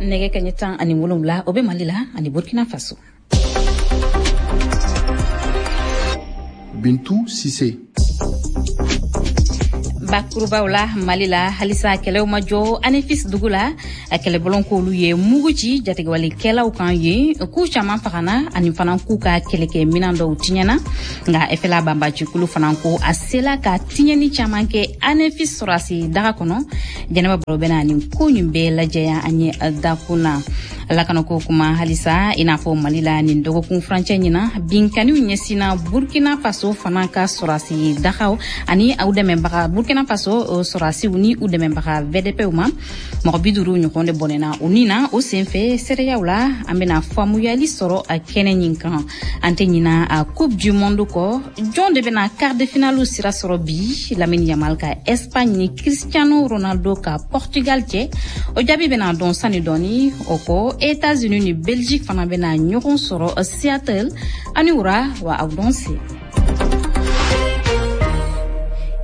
Nɛgɛ kaɲɛ 17, o bɛ Mali la ani Burkina Faso. Bintu Sise. Bakurubaw la, Mali la, halisa kɛlɛw ma jɔ Anefis dugu la. A kɛlɛbɔlɔn k'olu ye mugu ci jatigɛwalekɛlaw kan yen, k'u caman fagana ani fana k'u ka kɛlɛkɛ minan dɔw tiɲɛna. Nka FLA banbacikulu fana ko a sela ka tiɲɛni caman kɛ Anefis sɔrɔdasi daga kɔnɔ. Jɛnɛba Baro bɛna nin ko nin bɛɛ lajɛya an ye dakun na. Lakanako kuma halisa, i n'a fɔ Mali la, nin dɔgɔkun furancɛ ɲina, binkaniw ɲɛsinna Burkina Faso fana ka sɔrɔdasi dagaw ani aw dɛmɛbaga Burkina Faso sɔrɔdasiw ni u dɛmɛbaga VDPw ma. Mɔgɔ 50 ɲɔgɔn de bɔnɛna u ni na o senfɛ. Seereyaw la, an bɛna faamuyali sɔrɔ a kɛnɛ ɲin kan. An tɛ ɲina a Coupe du monde kɔ. Jɔn de bɛna quart de finale sira sɔrɔ bi, Lamine Yamal ka Espagne ni Cristiano Ronaldo ka Portugal cɛ? O jaabi bɛna dɔn sani dɔɔni. O kɔ, États-Unis ni Belgique fana bɛna ɲɔgɔn sɔrɔ Seattle. Ani wura wa, aw dɔn se.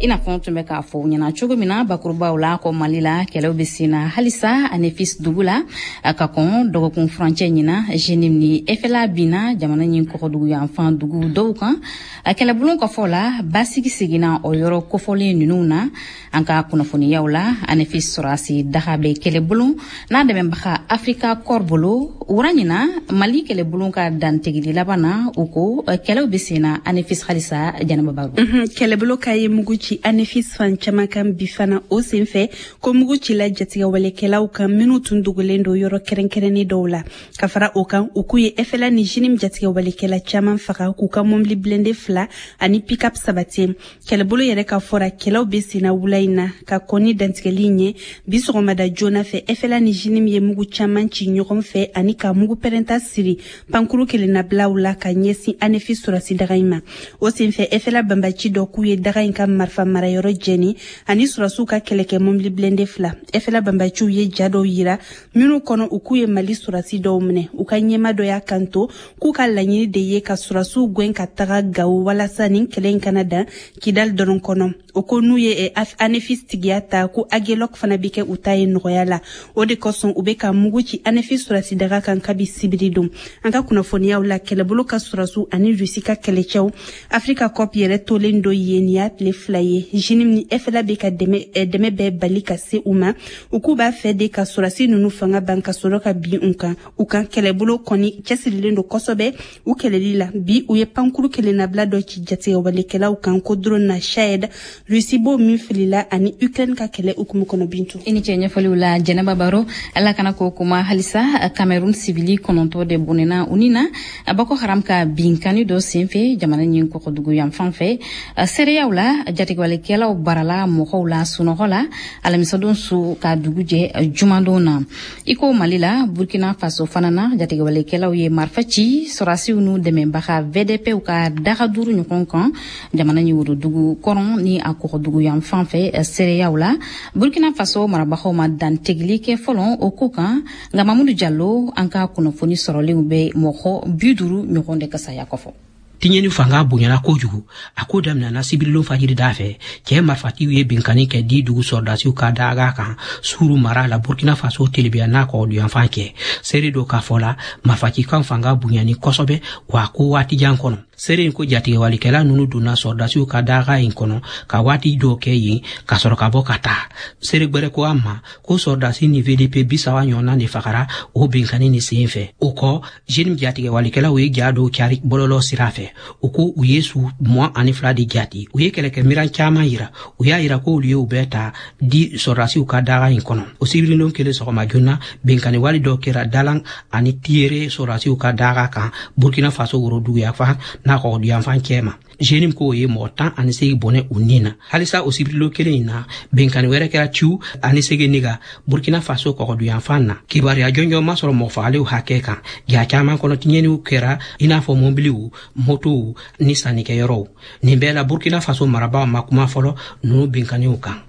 I n'a fɔ n tun bɛ k'a fɔ ɲɛna cogo min na bakurubaw la, ko Mali la, kɛlɛw bɛ sen na halisa Anefis dugu la. Ka kɔn dɔgɔkun furancɛ ɲina, JNIM ni FLA binna jamana ɲin kɔgɔdugu yanfan dugu dɔw kan. A kɛlɛbulon ka fɔ la, basigi seginna o yɔrɔ kofɔlen ninnu na. An ka kunnafoniyaw la, Anefis sɔrɔdasi daga bɛ kɛlɛbulon n'a dɛmɛbaga Africa Corps bolo. Wura ɲina, Mali kɛlɛbulon ka dantigili laban na, u ko kɛlɛw bɛ sen na Anefis halisa. Jɛnɛba Baro. Kɛlɛbolo ka ye mugu ci Anefis fan caman kan bi fana. O senfɛ ko mugu cila jatigɛwalekɛlaw kan minnu tun dogolen don yɔrɔ kɛrɛnkɛrɛnnen dɔw la. Ka fara o kan, u k'u ye FLA ni JNIM jatigɛwalekɛla caman faga, k'u ka mɔbili blindé fila ani pick-up sabati. Kɛlɛbolo yɛrɛ ka fɔra, kɛlɛw bɛ senna wula in na ka kɔn ni dantigɛli ɲɛ. Bi sɔgɔmada joona fɛ, FLA ni JNIM ye mugu caman ci ɲɔgɔn fɛ ani ka mugu pɛrɛnta siri pankuru kelennabilaw la ka ɲɛsin Anefis sɔrɔsi daga in ma. O senfɛ, FLA banbaci dɔ k'u ye daga in ka marifa marayɔrɔ jɛni ani sɔrɔsiw ka kɛlɛkɛ mɔbili blindé fila. FLA banbaciw ye ja dɔw yira minnu kɔnɔ u k'u ye Mali sɔrɔsi dɔw minɛ. U ka ɲɛma dɔ y'a kanto k'u ka laɲini de ye ka sɔrɔsiw gɛn ka taga Gawo, walasa nin kɛlɛ in kana dan Kidal dɔrɔn kɔnɔ. O ko n'u ye Anefis tigiya ta, ko Agelok fana bɛ kɛ u ta ye nɔgɔya la. O de kosɔn u bɛ ka mugu ci Anefis sɔrɔsi daga kan kabi sibiri don. An ka kunnafoniyaw la, kɛlɛbolo ka sɔrɔsiw ani Rusi ka kɛlɛcɛw Africa Corps yɛrɛ tolen do yen, nin y'a tile 2 ye. JNIM ni FLA bɛ ka dɛmɛ bɛɛ bali ka se u ma. U k'u b'a fɛ de ka sɔrɔsi ninnu fanga ban ka sɔrɔ ka bin u kan. U kan kɛlɛbolo kɔni cɛsirilen don kosɛbɛ u kɛlɛli la. Bi, u ye pankuru kelennabila dɔ ci jatigɛwalekɛlaw kan ko drone na Shahed, Rusi b'o min filila ani Ukraine ka kɛlɛ hukumu kɔnɔ. Bintu. I ni cɛ ɲɛfɔliw la, Jɛnɛba Baro. Ala kana ko kuma halisa, Cameroun sibili 9 de bɔnɛna u ni na Boko Haram ka binkani dɔ senfɛ jamana ɲin kɔgɔdugu yanfan fɛ. Seereyaw la, jatigɛwalekɛlaw barala mɔgɔw la sunɔgɔ la alamisadon su ka dugu jɛ jumadon na. I ko Mali la, Burkina Faso fana na, jatigɛwalekɛlaw ye marifa ci sɔrɔdasiw n'u dɛmɛbaga VDPw ka daga duuru ɲɔgɔn kan jamana ɲin worodugu kɔrɔn ni a kɔgɔdugu yanfan fɛ. Seereyaw la, Burkina Faso marabagaw ma dantigɛli kɛ fɔlɔ o ko kan. Nka Mamudu Jalo, an ka kunnafoni sɔrɔlenw bɛ mɔgɔ 50 ɲɔgɔn de ka saya kɔfɔ. Tiɲɛni fanga bonyana kojugu. A ko daminɛna sibirilon fajiri da fɛ. Cɛɛ marifatiw ye binkani kɛ di dugu sɔrɔdasiw ka daga kan Suru mara la, Burkina Faso telebiya n'a kɔgɔduyanfan cɛ. Seere dɔ k'a fɔ la, marifacikan fanga bonyani kosɛbɛ wa ko waati jan kɔnɔ. Seere in ko jatigɛwalikɛla nunu donna sɔrɔdasiw ka daga in kɔnɔ ka waati dɔw kɛ yen ka sɔrɔ ka bɔ ka taa. Seere gwɛrɛ ko a ma ko sɔrɔdasi ni VDP 30 ɲɔgɔnna de fagara o binkani ni sen fɛ. O kɔ, JNIM jatigɛwalikɛlaw ye ja dɔw cari bɔlɔlɔ sira fɛ. U ko u ye su 22 de jati. U ye kɛlɛkɛmiran caman yira. U y'a yira ko olu ye u bɛɛ ta di sɔrɔdasiw ka daga in kɔnɔ. O sibiridon kelen sɔgɔma joona, binkani wale dɔ kɛra Dalan ani Tiyere sɔrɔdasiw ka daga kan Burkina Faso woroduguyanfan n'a kɔgɔduyanfan cɛ ma. JNIM k'o ye mɔgɔ 18 bɔnɛ u ni na. Halisa o sibiridon kelen in na, binkani wɛrɛ kɛra Ciw ani Segeniga, Burkina Faso kɔgɔduyanfan na. Kibaruya jɔnjɔn ma sɔrɔ mɔgɔ fagalenw hakɛ kan. Ja caman kɔnɔ, tiɲɛniw kɛra i n'a fɔ mɔbiliw, motow ni sannikɛyɔrɔw. Nin bɛɛ la, Burkina Faso marabaaw ma kuma fɔlɔ ninnu binkaniw kan.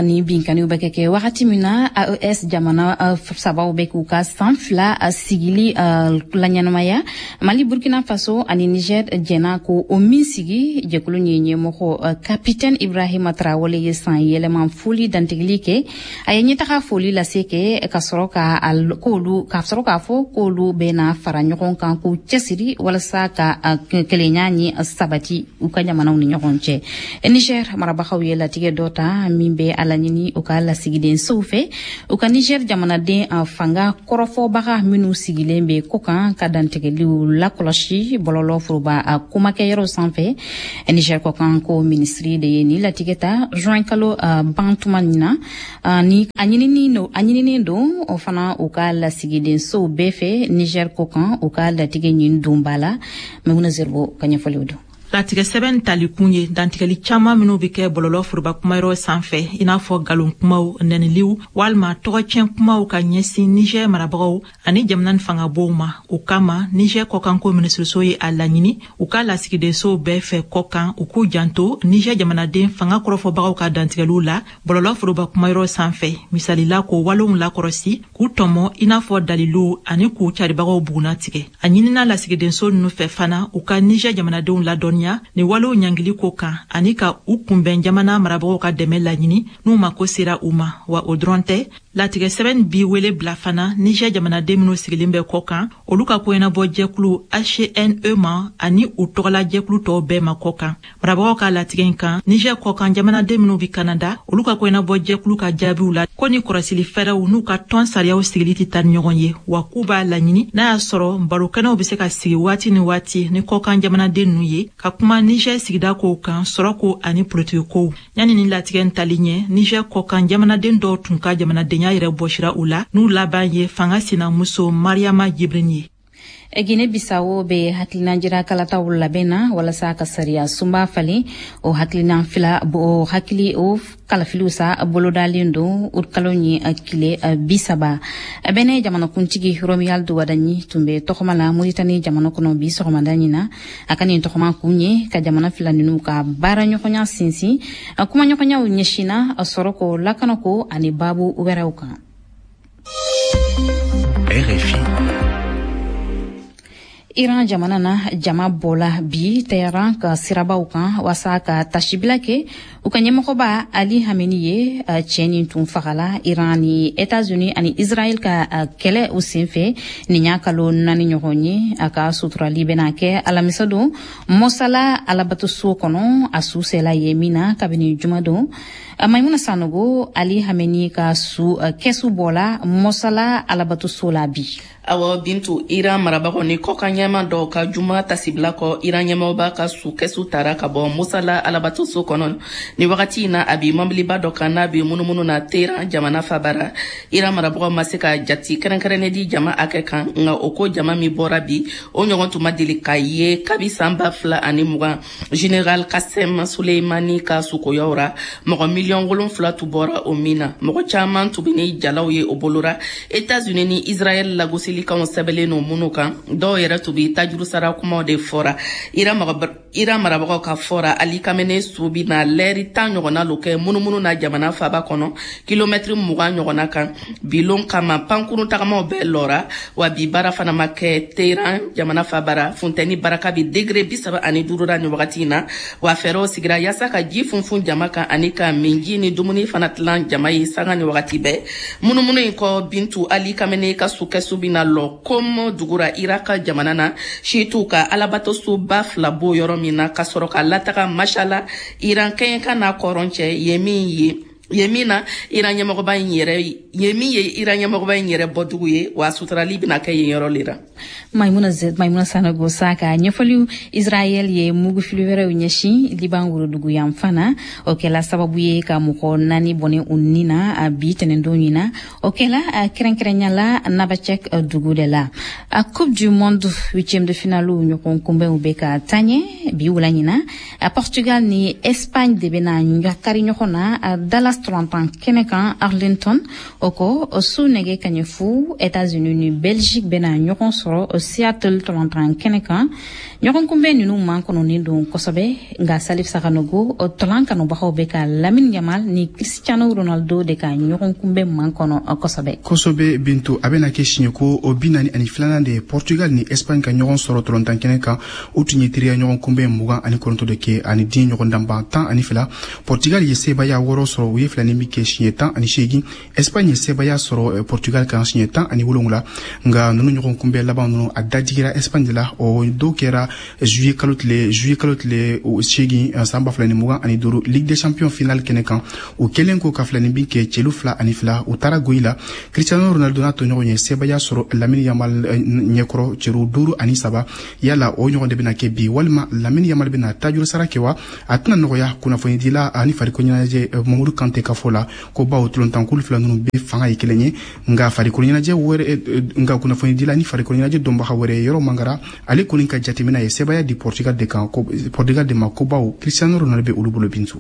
Ni binkaniw bɛ kɛ wagati min na, AES jamana sabaw bɛ k'u ka san 2 sigili laɲɛnamaya. Mali, Burkina Faso ani Niger jɛna ko o min sigi. Jɛkulu ye ɲɛmɔgɔ Capitaine Ibrahima Traoré ye san yɛlɛma foli dantigili kɛ. A ye ɲɛtaga foli lase kɛ ka sɔrɔ ka k'olu ka sɔrɔ k'a fɔ k'olu bɛna fara ɲɔgɔn kan k'u cɛsiri walasa ka kelenya ni sabati u ka jamanaw ni ɲɔgɔn cɛ. Niger marabagaw ye latigɛ dɔ ta min bɛ a laɲini u ka lasigidensow fɛ, u ka Niger jamanaden fanga kɔrɔfɔbaga minnu sigilen bɛ ko kan ka dantigɛliw lakɔlɔsi bɔlɔlɔ foroba komakɛyɔrɔw sanfɛ. Niger kɔkan ko minisiri de ye ni latigɛ ta juin kalo ban tuma nin na. Ni a ɲinini don o fana u ka lasigidensow bɛɛ fɛ Niger kɔkan, u ka latigɛ ɲin donba la. Maimuna Zerbo ka ɲɛfɔliw don. Latigɛ sɛbɛn talikun ye dantigɛli caaman minw be kɛ bɔlɔlɔ foroba kumayɔrɔ sanfɛ, i n'a fɔ galon kumaw, nɛniliw walima tɔgɔcɛn kumaw ka ɲɛsin Niger marabagaw ani jamana ni fangabow ma. O kama, Niger kɔkanko minisiriso ye a laɲini u ka lasigidensow bɛɛ fɛ kɔkan, u k'u janto Niger jamanaden fanga kɔrɔfɔbagaw ka dantigɛliw la bɔlɔlɔ foroba kumayɔrɔ sanfɛ, misalila k'o walenw lakɔrɔsi, k'u tɔmɔ i n'a fɔ daliluw, ani k'u caribagaw buguna tigɛ. A ɲinina lasigidenso nunu fɛ fana, u ka Niger jamanadenw ladɔnniya ni walew ɲangili ko kan, ani ka u kunbɛn jamana marabagaw ka dɛmɛ laɲini n'u mako sera u ma. Wa o dɔrɔn tɛ, latigɛ sɛbɛn bi wele bila fana Niger jamanaden minw sigilen bɛ kɔ kan, olu ka koɲɛnabɔ jɛkulu HNE ma ani u tɔgɔla jɛkulu tɔw bɛɛ ma kɔ kan. Marabagaw ka latigɛ in kan, Niger kɔkan jamanaden minw bi Kanada, olu ka koɲɛnabɔ jɛkulu ka jaabiw la ko ni kɔrɔsili fɛɛrɛw n'u ka tɔn sariyaw sigili tɛ taa ni ɲɔgɔn ye, wa k'u b'a laɲini n'a y'a sɔrɔ barokɛnɛw bɛ se ka sigi waati ni waati ni kɔkan jamanaden ninnu ye ka kuma Niger sigida kow kan, sɔrɔko ani politiki kow. Yanni ni latigɛ in tali ɲɛ, Niger kɔkan jamanaden dɔw tun ka jamanadenya yɛrɛ bɔsira u la, n'u laban ye fanga sinamuso Mariama Jibrin ye. Guinée Bissau bɛ hakilina jira kalataw labɛn na walasa ka sariya sunba falen. O hakilina fila o hakili o kalafiliw sa bolodalen don utkalo ni tile 30. Bɛnɛ jamanakuntigi Romuald Wadagni tun bɛ tɔgɔma la Mauritanie jamana kɔnɔ bi sɔgɔmada ɲin na. A ka nin tɔgɔma kun ye ka jamana fila ninnu ka baara ɲɔgɔnya sinsin. Kumaɲɔgɔnyaw ɲɛsinna sɔrɔko, lakanako ani baabu wɛrɛw kan. RFI. Iran jamana na, jama bɔla bi Teheran ka sirabaw kan waasa ka tasibila kɛ u ka ɲɛmɔgɔba Ali Hameni ye, cɛ nin tun fagala Iran ni États-Unis ani Israël ka kɛlɛ o senfɛ nin y'a kalo 4 ɲɔgɔn ye. A ka suturali bɛna kɛ alamisa don Mosala alabatoso kɔnɔ, a su sela ye min na kabini juma don. Maimuna Sanogo, Ali Hameni ka su kɛsu bɔla Mosala alabatoso la bi. Awɔ Bintu, Iran marabagaw ni kɔkan ɲɛma dɔw ka juma tasibila kɔ, Iran ɲɛmɔgɔba ka su kɛsu tara ka bɔ Musala alabatoso kɔnɔ. Ni wagati in na, a bi mɔbiliba dɔ kan n'a bi munumunu na Teheran jamana fabara. Iran marabagaw ma se ka jati kɛrɛnkɛrɛnnen di jama hakɛ kan, nka o ko jama min bɔra bi, o ɲɔgɔn tun ma deli ka ye kabi san 2020 Général Qassem Soleimani ka sukoyaw ra. Mɔgɔ 7 miliyɔn tun bɔra o min na, mɔgɔ caman tun bɛ ni jalaw ye o bolora, États-Unis ni Israël lagosilikanw sɛbɛnlen no minnu kan. Dɔw yɛrɛ tun bɛ tajuru sara kumaw de fɔra. Iran marabagaw ka fɔra, Ali Kamene su bi na lɛri 10 ɲɔgɔnna lo kɛ munumunu na jamana faba kɔnɔ, kilomɛtiri 20 ɲɔgɔnna kan. Bilon kama, pankurun tagamaw bɛɛ lɔra, wa bi baara fana ma kɛ Teheran jamana fabara. Funtɛni baraka bi degré 35 la nin wagati in na, wa fɛɛrɛw sigira yaasa ka ji funfun jama kan ani ka minji ni dumuni fana tilan jama ye sanga ni wagati bɛɛ. Munumunu in kɔ, Bintu, Ali Kamene ka su kɛsu bina lɔ Kom dugura Iraka jamana na, siituw ka alabatosoba fila bo yɔrɔ min na, ka sɔrɔ ka lataga Mashala, Iran kɛɲɛka n'a kɔrɔn cɛ, ye min ye ye min na Iran ɲɛmɔgɔba in yɛrɛ ye min ye Iran ɲɛmɔgɔba in yɛrɛ bɔdugu ye, wa suturali bɛna kɛ yen yɔrɔ le la. Maimuna Sanogo sa ka ɲɛfɔliw. Israel ye mugufili wɛrɛw ɲɛsin Liban worodugu yanfan na, o kɛla sababu ye ka mɔgɔ 4 bɔnɛ u ni na bi tɛnɛndon ɲin na. O kɛla kɛrɛnkɛrɛnya la Nabacek dugu de la. A Coupe du monde huitième de finale ɲɔgɔn kunbɛnw bɛ ka taa ɲɛ bi wula ɲin na. Portugal ni Espagne de bɛna kari ɲɔgɔn na Dallas. Texas tɔlantan kɛnɛ kan Arlington. O kɔ, su nɛgɛ kaɲɛ 0, États-Unis ni Belgique bɛna ɲɔgɔn sɔrɔ Seattle tɔlantan kɛnɛ kan. Ɲɔgɔn kunbɛn ninnu makɔnɔnen don kosɛbɛ, nka Salif Sakanogo, tɔlan kanubagaw bɛ ka Lamine Yamal ni Cristiano Ronaldo de ka ɲɔgɔn kunbɛn makɔnɔ kosɛbɛ. Kosɛbɛ Bintu, a bɛna kɛ siɲɛ ko o 42nan de ye Portugal ni Espagne ka ɲɔgɔn sɔrɔ tɔlɔntan kɛnɛ kan. U tun ye teriya ɲɔgɔn kunbɛn 29 de kɛ ani diɲɛ ɲɔgɔn danban 12. Portugal ye sebaaya 6 sɔrɔ, u ye filani min kɛ siɲɛ 18. Espagne ye sebaaya sɔrɔ Portugal kan siɲɛ 17. Nka ninnu ɲɔgɔn kunbɛn laban ninnu, a dajigira Espagne de la. O dɔw kɛra juillet kalo tile 8 san 2025 Ligue des Champions finale kɛnɛ kan. U kɛlen ko ka filani bin kɛ celu 2-2, u taara goyi la. Cristiano Ronaldo n'a tɔɲɔgɔn ye sebaaya sɔrɔ Lamine Yamal ɲɛkɔrɔ celu 5-3. Yala o ɲɔgɔn de bɛna kɛ bi, walima Lamine Yamal bɛna tajuru sara kɛ wa? A tɛna nɔgɔya. Kunnafonidila ani farikolo ɲɛnajɛ Mamadu Kante ka fɔ la ko bawo tolontankulu fila ninnu bɛ fanga ye kelen ye, nka farikolo ɲɛnajɛ wɛrɛ, nka kunnafonidila ni farikolo ɲɛnajɛ dɔnbaga wɛrɛ yɔrɔ Mangara, ale kɔni ka jateminɛ ye sebaaya di Portugal de kan, Portugal de ma, ko bawo Cristiano Ronaldo bɛ olu bolo Bintu.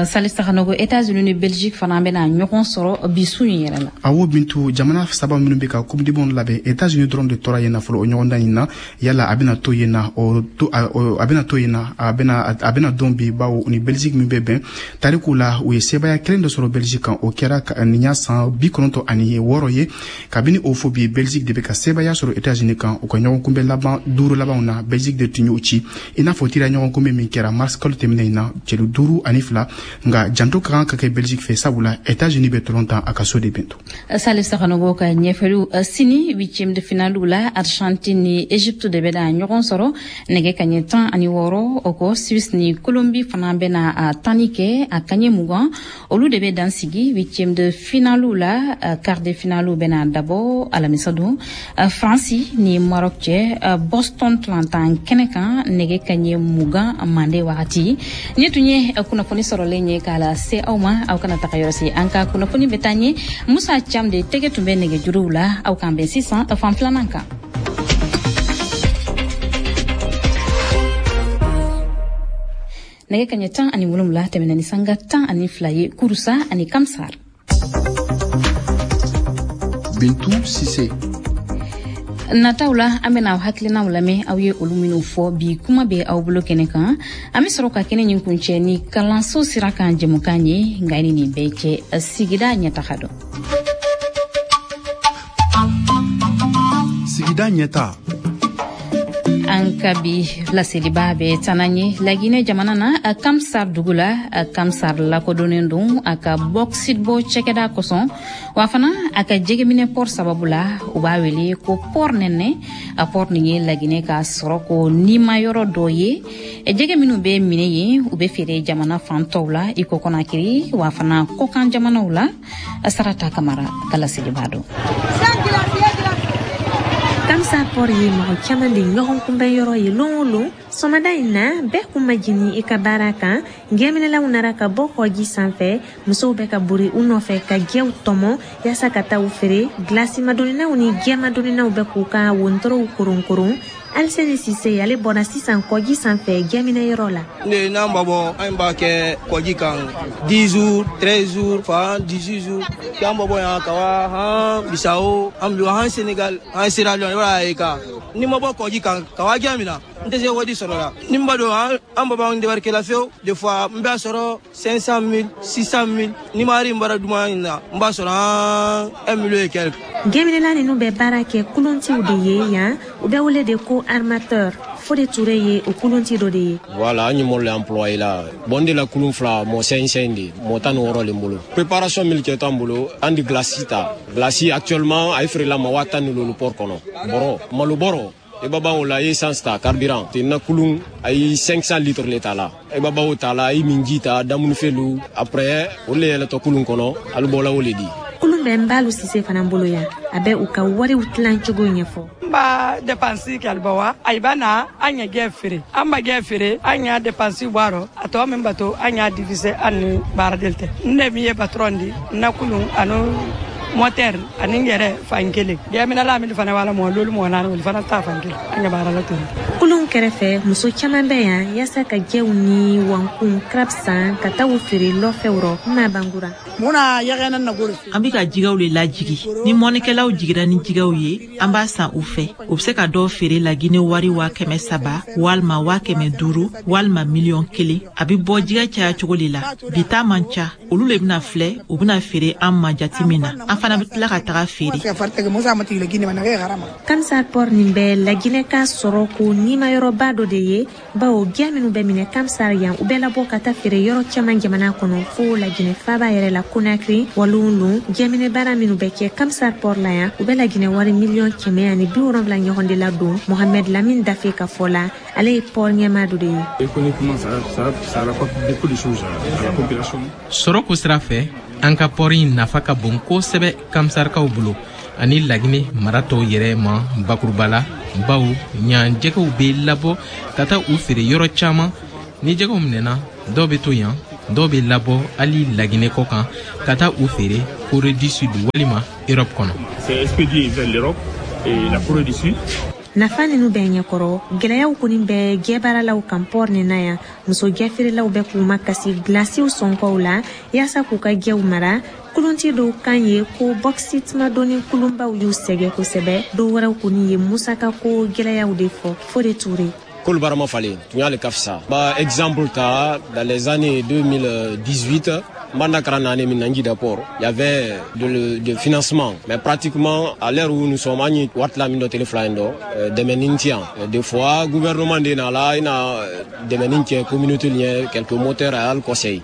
Salif Sakanogo, États-Unis ni Belgique fana bɛna ɲɔgɔn sɔrɔ bi su in yɛrɛ la. Awɔ Bintu, jamana saba minnu bɛ ka Coupe du monde labɛn, États-Unis dɔrɔn de tora yen na fɔlɔ o ɲɔgɔndan in na. Yala a bɛna to yen na, a bɛna to yen na, a bɛna dɔn bi, bawo ni Belgique min bɛ bɛn tariku la, u ye sebaaya kelen dɔ sɔrɔ Belgique kan, o kɛra nin y'a san 96 ye. Kabini o fo bi, Belgique de bɛ ka sebaaya sɔrɔ États-Unis kan. U ka ɲɔgɔn kunbɛn laban 5 labanw na, Belgique de tun y'u ci, i n'a fɔ teriya ɲɔgɔn kunbɛn min kɛra mars kalo tɛmɛnen in na, celu 5-2. Nka janto ka kan ka kɛ Belgique fɛ, sabula États-Unis bɛ tolon tan a ka so de Bintu. Salif Sakanogo ka ɲɛfɔliw. Sini huitième de finale la, Argentine ni Égypte de bɛna ɲɔgɔn sɔrɔ nɛgɛ kaɲɛ 16. O kɔ, Suisse ni Colombie fana bɛna a tanni kɛ a kaɲɛ 20. Olu de bɛ dan sigi huitième de finale la. Quart de finale bɛna dabɔ alamisa don France ni Maroc cɛ Boston tɔlantan kɛnɛ kan nɛgɛ kaɲɛ 20 mande wagati. Ni tun ye kunnafoni sɔrɔlen ye k'a lase aw ma, aw kana taga yɔrɔ si, an ka kunnafoni bɛ taa ɲɛ. Musa Cam de tɛgɛ tun bɛ nɛgɛjuruw la. Aw k'an bɛn sisan fan filanan kan. Nɛgɛ kaɲɛ 17 tɛmɛna ni sanga 12 ye Kurusa ani Kamsar. Bintu Sise. Nataw la, an bɛna aw hakilinaw lamɛn, aw ye olu minnu fɔ bi kuma bɛ aw bolo kɛnɛ kan. An bɛ sɔrɔ ka kɛnɛ ɲin kuncɛ ni kalanso sira kan jɛmukan ye, nka ni nin bɛɛ cɛ, sigida ɲɛtaga dɔn. Sigida ɲɛta. An ka bi laseliba bɛ tana ye Laginɛ jamana na, Kamsar dugu la. Kamsar lakodɔnnen don a ka bauxite bɔ cɛkɛda kosɔn, wa fana a ka jɛgɛminɛ port sababu la, u b'a wele ko port nɛnɛ. A port nin ye Laginɛ ka sɔrɔ ko nimayɔrɔ dɔ ye. Jɛgɛ minnu bɛ minɛ yen, u bɛ feere jamana fan tɔw la i ko Conakry, wa fana kɔkan jamanaw la. Sarata Kamara ka laseliba don. Kamsar port ye mɔgɔ caman de ɲɔgɔn kunbɛn yɔrɔ ye lon o lon. Sɔgɔmada in na, bɛɛ kun ma jigin i ka baara kan. Gɛminɛlaw nara ka bɔ kɔji sanfɛ, musow bɛ ka bori u nɔfɛ ka jɛw tɔmɔ yaasa ka taa u feere. Gilasimadoninaw ni jɛmadoninaw bɛ k'u ka wontorow koronkoron. Aliseni Sise, ale bɔra sisan kɔji sanfɛ jɛminɛ yɔrɔ la. Ne n'an b'a bɔ, an b'a kɛ kɔji kan 10 jours, 13 jours, fan 18 jours. K'an b'a bɔ yan ka wa han Bissau, an bi han Sénégal, han Sierra Leone, wala ye kan. Ni ma bɔ kɔji kan ka wa jɛ min na, n tɛ se wari sɔrɔ la. Ni n b'a dɔn an b'a bɔ an débarquer la fiyewu, des fois n b'a sɔrɔ 500 000, 600 000. Ni ma hari n baara duman in na, n b'a sɔrɔ an 1 million et quelque. Gɛminɛla ninnu bɛ baara kɛ kulontiw de ye yan, u bɛ wele de ko armateur. Fode Touré ye o kulonti dɔ de ye. Voilà, an ye mɔlu employé la. Bon de la kulun fila, mɔ 5 de, mɔ 16 le bolo. Préparation min kɛ t'an bolo, an di glace ta. Glace actuellement a ye feere la ma 10 000 port kɔnɔ. Bɔrɔ, malo bɔrɔ. I b'a o la, i ye essence ta, carburant. Te na kulun, a ye 500 litres le ta la. I b'a o ta la, i minji ta, damunifɛnlu. Après, o le yɛlɛtɔ kulun kɔnɔ, alu bɔla o le di. Kulun bɛ Nbalu Sise fana bolo yan, a bɛ u ka wariw tilan cogo ɲɛfɔ. N b'a dépense kɛ alibawa, ayiba na an ye gɛ feere, an ma gɛ feere, an y'a dépense bɔ a rɔ, a tɔ min bato an y'a diviser an ni baaradeli tɛ. N de min ye patron di, n na kulun ani Moteur ani n yɛrɛ fan kelen. Jɛminɛla min fana b'a la mɔgɔ lolu mɔgɔ naani, olu fana ta fan kelen. An ka baara la ten. Kulun kɛrɛfɛ, muso caman bɛ yan yaasa ka jɛw ni wankun crab san ka taa u feere lɔfɛw rɔ ma Bangura. An bɛ ka jigɛw le lajigi. Ni mɔnikɛlaw jigira ni jigɛw ye, an b'a san u fɛ. U bɛ se ka dɔw feere Lagine wari 300,000 walima 500,000 walima 1,000,000. A bɛ bɔ jigɛ caya cogo de la. Bi ta man ca, olu le bɛna filɛ, u bɛna feere an ma jate min na, an fana bɛ tila ka taga feere. Kamsar port nin bɛ Laginɛ ka sɔrɔ ko nimayɔrɔba dɔ de ye, bawo gɛ minnu bɛ minɛ Kamsar yan, u bɛ labɔ ka taa feere yɔrɔ caman jamana kɔnɔ fo Laginɛ faaba yɛrɛ la Conakry. Walon lon jɛminɛ baara minnu bɛ kɛ Kamsar port la yan, u bɛ Laginɛ wari 170,000,000 ɲɔgɔn de la don. Mohamed Lamine Dafe ka fɔ la, ale ye port ɲɛmaa dɔ de ye. Sɔrɔ ko sira fɛ, an ka port in nafa ka bon kosɛbɛ Kamsarkaw bolo ani Laginɛ mara tɔw yɛrɛ ma bakuruba la, bawo ɲan jɛgɛw bɛ labɔ ka taa u feere yɔrɔ caman. Ni jɛgɛw minɛna, dɔw bɛ to yan, dɔw bɛ labɔ hali Laginɛ kɔ kan ka taa u feere Corée du Sud walima Europe kɔnɔ. Nafa ninnu bɛ ɲɛkɔrɔ, gɛlɛyaw kɔni bɛ jɛbaaralaw kan port nin na yan. Muso jɛfeerelaw bɛ k'u makasi gilasiw sɔnkɔw la yaasa k'u ka jɛw mara. Kulunti dɔw kan ye ko bauxite madonni kulunbaw y'u sɛgɛn kosɛbɛ. Dɔw wɛrɛw kɔni ye musaka ko gɛlɛyaw de fɔ. Fode Toure. Kolu baara ma falen, tun y'ale ka fisa. Ba exemple ta, dans les années 2018, Mbanda Karana Minangi port, il y avait de financement, mais pratiquement à l'heure où nous sommes, ani watla mindo téléphone des menintiens. Des fois gouvernement de na il a des menintiens communauté lien quelques moteurs à al conseil.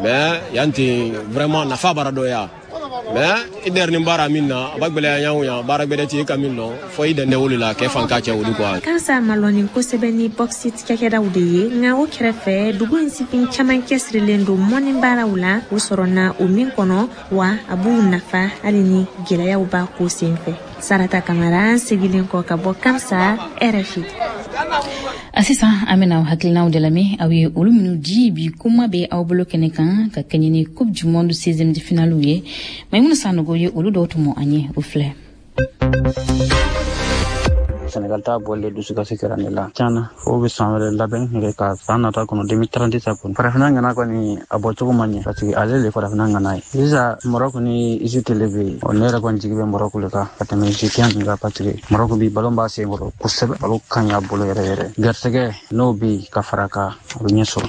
Mais yanti vraiment nafa baradoya. Mais i dernier bara min na a b'a gbɛlɛya ɲanw yan baara gbɛdɛ ti e ka min lɔn fo i dɛndɛ o de la kɛ fanka cɛ olu quoi. Kansa malɔni kosɛbɛ ni bauxite cakɛdaw de ye, nka o kɛrɛfɛ dugu in sifin caman cɛsirilen don mɔni baaraw la, u sɔrɔna o min kɔnɔ, wa a b'u nafa hali ni gɛlɛyaw b'a ko senfɛ. Sarata Kamara segilen kɔ ka bɔ Kamsa, RFI. A sisan an bɛna hakilinaw de lamɛn aw ye olu minnu di bi kuma bɛ aw bolo kɛnɛ kan ka kɛɲɛ ni Coupe du monde 16e de finale ye. Maimuna Sanogo ye olu dɔw tɔmɔ an ye, o filɛ. Senegal ta bɔlen dusukasi kɛra ne la tiɲɛna, fo bɛ san wɛrɛ labɛn yɛrɛ ka san nata kɔnɔ 2030 ta kɔnɔ. Farafinna ŋana kɔni a bɔcogo ma ɲɛ, parce que ale le farafinna ŋana ye. Sisan Maroc ni Egypte le bɛ yen, ne yɛrɛ kɔni jigi bɛ Maroc le kan ka tɛmɛ Egyptien nin kan, parce que Maroc bi ballon b'a sen kɔrɔ kosɛbɛ, ballon ka ɲi a bolo yɛrɛ yɛrɛ. Garisɛgɛ n'o bɛ yen ka fara kan, a bɛ ɲɛ sɔrɔ.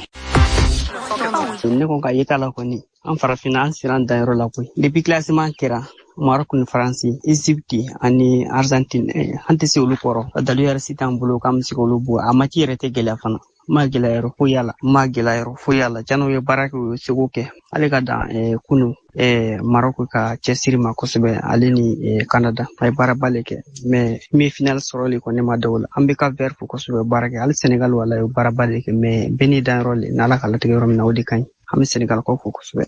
Ne ko ka yeta la kɔni, an farafinna an sera an danyɔrɔ la koyi. Depuis classement kɛra, Maroc ni Faransi, Egypte ani Argentine, an tɛ se olu kɔrɔ. Dalu yɛrɛ si t'an bolo k'an bɛ se k'olu bɔ. A mati yɛrɛ tɛ gɛlɛya fana. Ma gɛlɛya yɔrɔ foyi y'a la, ma gɛlɛya yɔrɔ foyi y'a la. Janni u ye baara kɛ, u ye seko kɛ. Ale ka dan kunu Maroc ka cɛsiri ma kosɛbɛ, ale ni Canada a ye baaraba le kɛ. Mais min ye final sɔrɔ le kɔni ma da o la. An bɛ ka vert fo kosɛbɛ baara kɛ. Hali Senegal wala ye baaraba le kɛ, mais bɛɛ n'i danyɔrɔ le, n'Ala ka latigɛ yɔrɔ min na o de ka ɲi. An bɛ Senegal kɔ fo kosɛbɛ.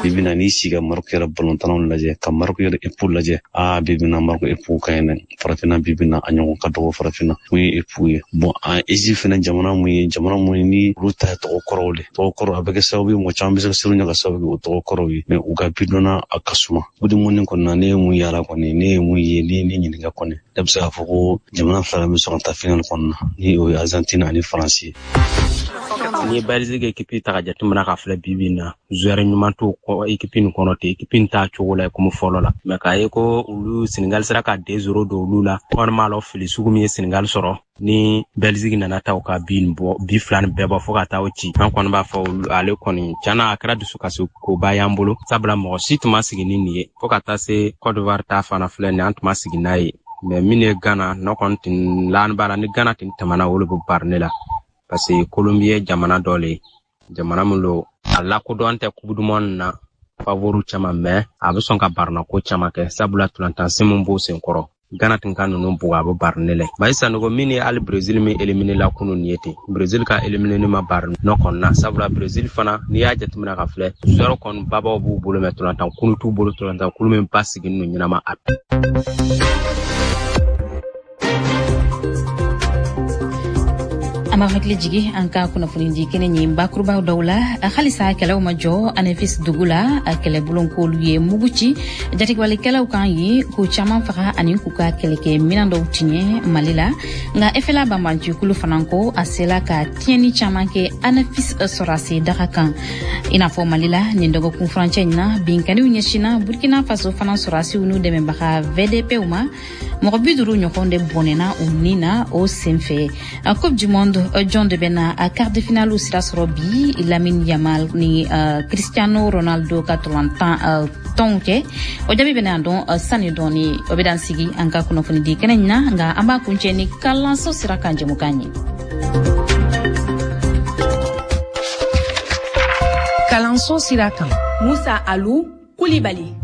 Bi bina n'i sigi ka Maroc yɛrɛ balontannaw lajɛ, ka Maroc yɛrɛ epu lajɛ, bi bina Maroc epu ka ɲi dɛ. Farafinna bi bina a ɲɔgɔn ka dɔgɔ farafinna mun ye epu ye. Bon, an Egypte fɛnɛ jamana mun ye, jamana mun ye ni olu ta ye tɔgɔ kɔrɔw de. Tɔgɔ kɔrɔ a bɛ kɛ sababu ye mɔgɔ caman bɛ se ka siran ɲɛ ka sababu kɛ o tɔgɔ kɔrɔw ye, mais u ka bidɔnna a ka suma. O de mun kɔni na ne ye mun yala kɔni, ne ye mun ye, ne ye ɲininka kɔni, ne bɛ se k'a fɔ ko jamana fila bɛ sɔn ka taa final kɔnɔna na, ni o ye Argentine ani Faransi ye. Ni ye Belgique équipe ta ka jateminɛ ka filɛ bi bi in na, joueur ɲuman t'o équipe nin kɔnɔ ten, équipe nin t'a cogo la komi fɔlɔ la. Mais k'a ye ko olu Senegal sera ka 2-0 don olu la, kɔni m'a lɔ fili sugu min ye Senegal sɔrɔ ni Belgique nana taa u ka bi nin bɔ, bi fila nin bɛɛ bɔ fo ka taa o ci. An kɔni b'a fɔ ale kɔni tiɲɛna a kɛra dusukasi koba y'an bolo, sabula mɔgɔ si tun ma sigi ni nin ye. Fo ka taa se Côte d'Ivoire ta fana filɛ nin ye, an tun ma sigi n'a ye. Mais min ye Ghana, ne kɔni tun lan b'a la ni Ghana tun tɛmɛna olu bɛ bari ne la. Parce que Colombie ye jamana dɔ le ye, jamana min don a lakodɔn tɛ coupe du monde na favori caman, mais a bɛ sɔn ka barinako caman kɛ, sabula tolantansen min b'o sen kɔrɔ. Ghana tun ka ninnu bugu a bɛ bari ne la. Bayi Sanogo min ye hali Brésil min éliminé la kunun nin ye ten, Brésil ka éliminé ma bari nɔ kɔni na, sabula Brésil fana n'i y'a jateminɛ ka filɛ, joueur kɔni babaw b'u bolo, mais tolantan kulu t'u bolo, tolantan kulu min basigi n'u ɲɛnama a. An b'a hakili jigi an ka kunnafonidi kɛnɛ ye bakurubaw dɔw la. Halisa kɛlɛw ma jɔ Anefis dugu la. Kɛlɛbulon k'olu ye mugu ci jatigɛwalekɛlaw kan ye, k'u caman faga ani k'u ka kɛlɛkɛ minan dɔw tiɲɛ Mali la. Nka FLA banbancikulu fana ko a sela ka tiɲɛni caman kɛ Anefis sɔrɔdasi daga kan. I n'a fɔ Mali la, nin dɔgɔkun furancɛ in na, binkanniw ɲɛsinna Burkina Faso fana sɔrɔdasiw n'u dɛmɛbaga VDPw ma. Mɔgɔ 50 ɲɔgɔn de bɔnɛna u ni na o senfɛ. Coupe du monde, jɔn de bɛna a quart de finale sira sɔrɔ bi Lamine Yamal ni Cristiano Ronaldo ka tolantan tɔnw kɛ? O jaabi bɛna dɔn sani dɔɔni. O bɛ dan sigi an ka kunnafonidi kɛnɛ in na, nka an b'a kuncɛ ni kalanso sira kan jɛmukan ye. Kalanso sira kan, Musa Alu Kulibali.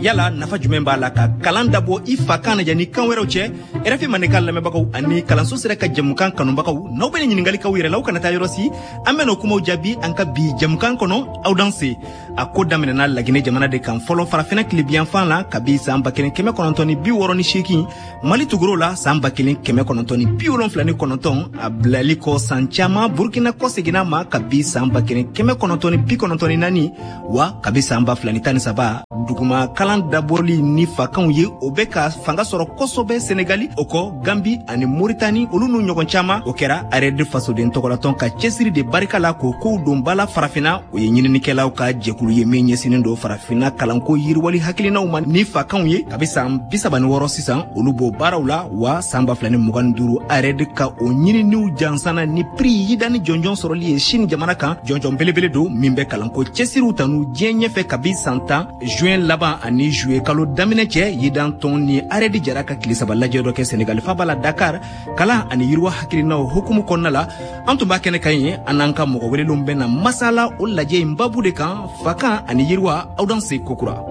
Yala nafa jumɛn b'a la ka kalan dabɔ i fa kan na yanni kan wɛrɛw cɛ? RFI Mandenkan lamɛnbagaw ani kalanso sira ka jɛmukan kanubagaw, n'aw bɛna ɲininkali k'aw yɛrɛ la, aw kana taa yɔrɔ si, an bɛna o kumaw jaabi an ka bi jɛmukan kɔnɔ. Aw danse. A ko daminɛna Laginɛ jamana de kan fɔlɔ, Farafinna tilebiyanfan la, kabi san 1968. Mali tugur'o la san 1979. A bilali kɔ san caman, Burkina kɔseginna ma kabi san 1994. Wa kabi san 2013, duguma kalan dabɔli ni fakanw ye, o bɛ ka fanga sɔrɔ kosɛbɛ Senegali, o kɔ Gambi ani Moritani, olu n'u ɲɔgɔn caman. O kɛra ARED fasoden tɔgɔlatɔn ka cɛsiri de barika la k'o kow don ba la Farafinna. O ye ɲininikɛlaw ka jɛkulu ye min ɲɛsinnen don Farafinna kalanko yiriwali hakilinaw ma ni fakanw ye. Kabi san 36 sisan, olu b'o baaraw la. Wa san 2025, ARED ka o ɲininiw jansana ni prix Yidani jɔnjɔn sɔrɔli ye Chine jamana kan. Jɔnjɔn belebele don min bɛ kalanko cɛsiriw tanu diɲɛ ɲɛfɛ kabi san 10. Juin laban ani juillet kalo daminɛ cɛ, Yidan tɔn ni ARED jara ka tile 3 lajɛ dɔ kɛ Senegali faba la Dakar, kalan ani yiriwa hakilinaw hukumu kɔnɔna la. An tun b'a kɛnɛ kan ye, an n'an ka mɔgɔ welelenw bɛna masala o lajɛ in babu de kan, fakan ani yiriwa. Aw danse kokura.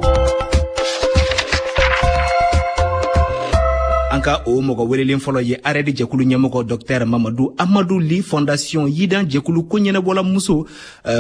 An ka o mɔgɔ welelen fɔlɔ ye ARED jɛkulu ɲɛmɔgɔ Dr Mamadu Amadu Li, Fondation Yidan jɛkulu ko ɲɛnabɔla muso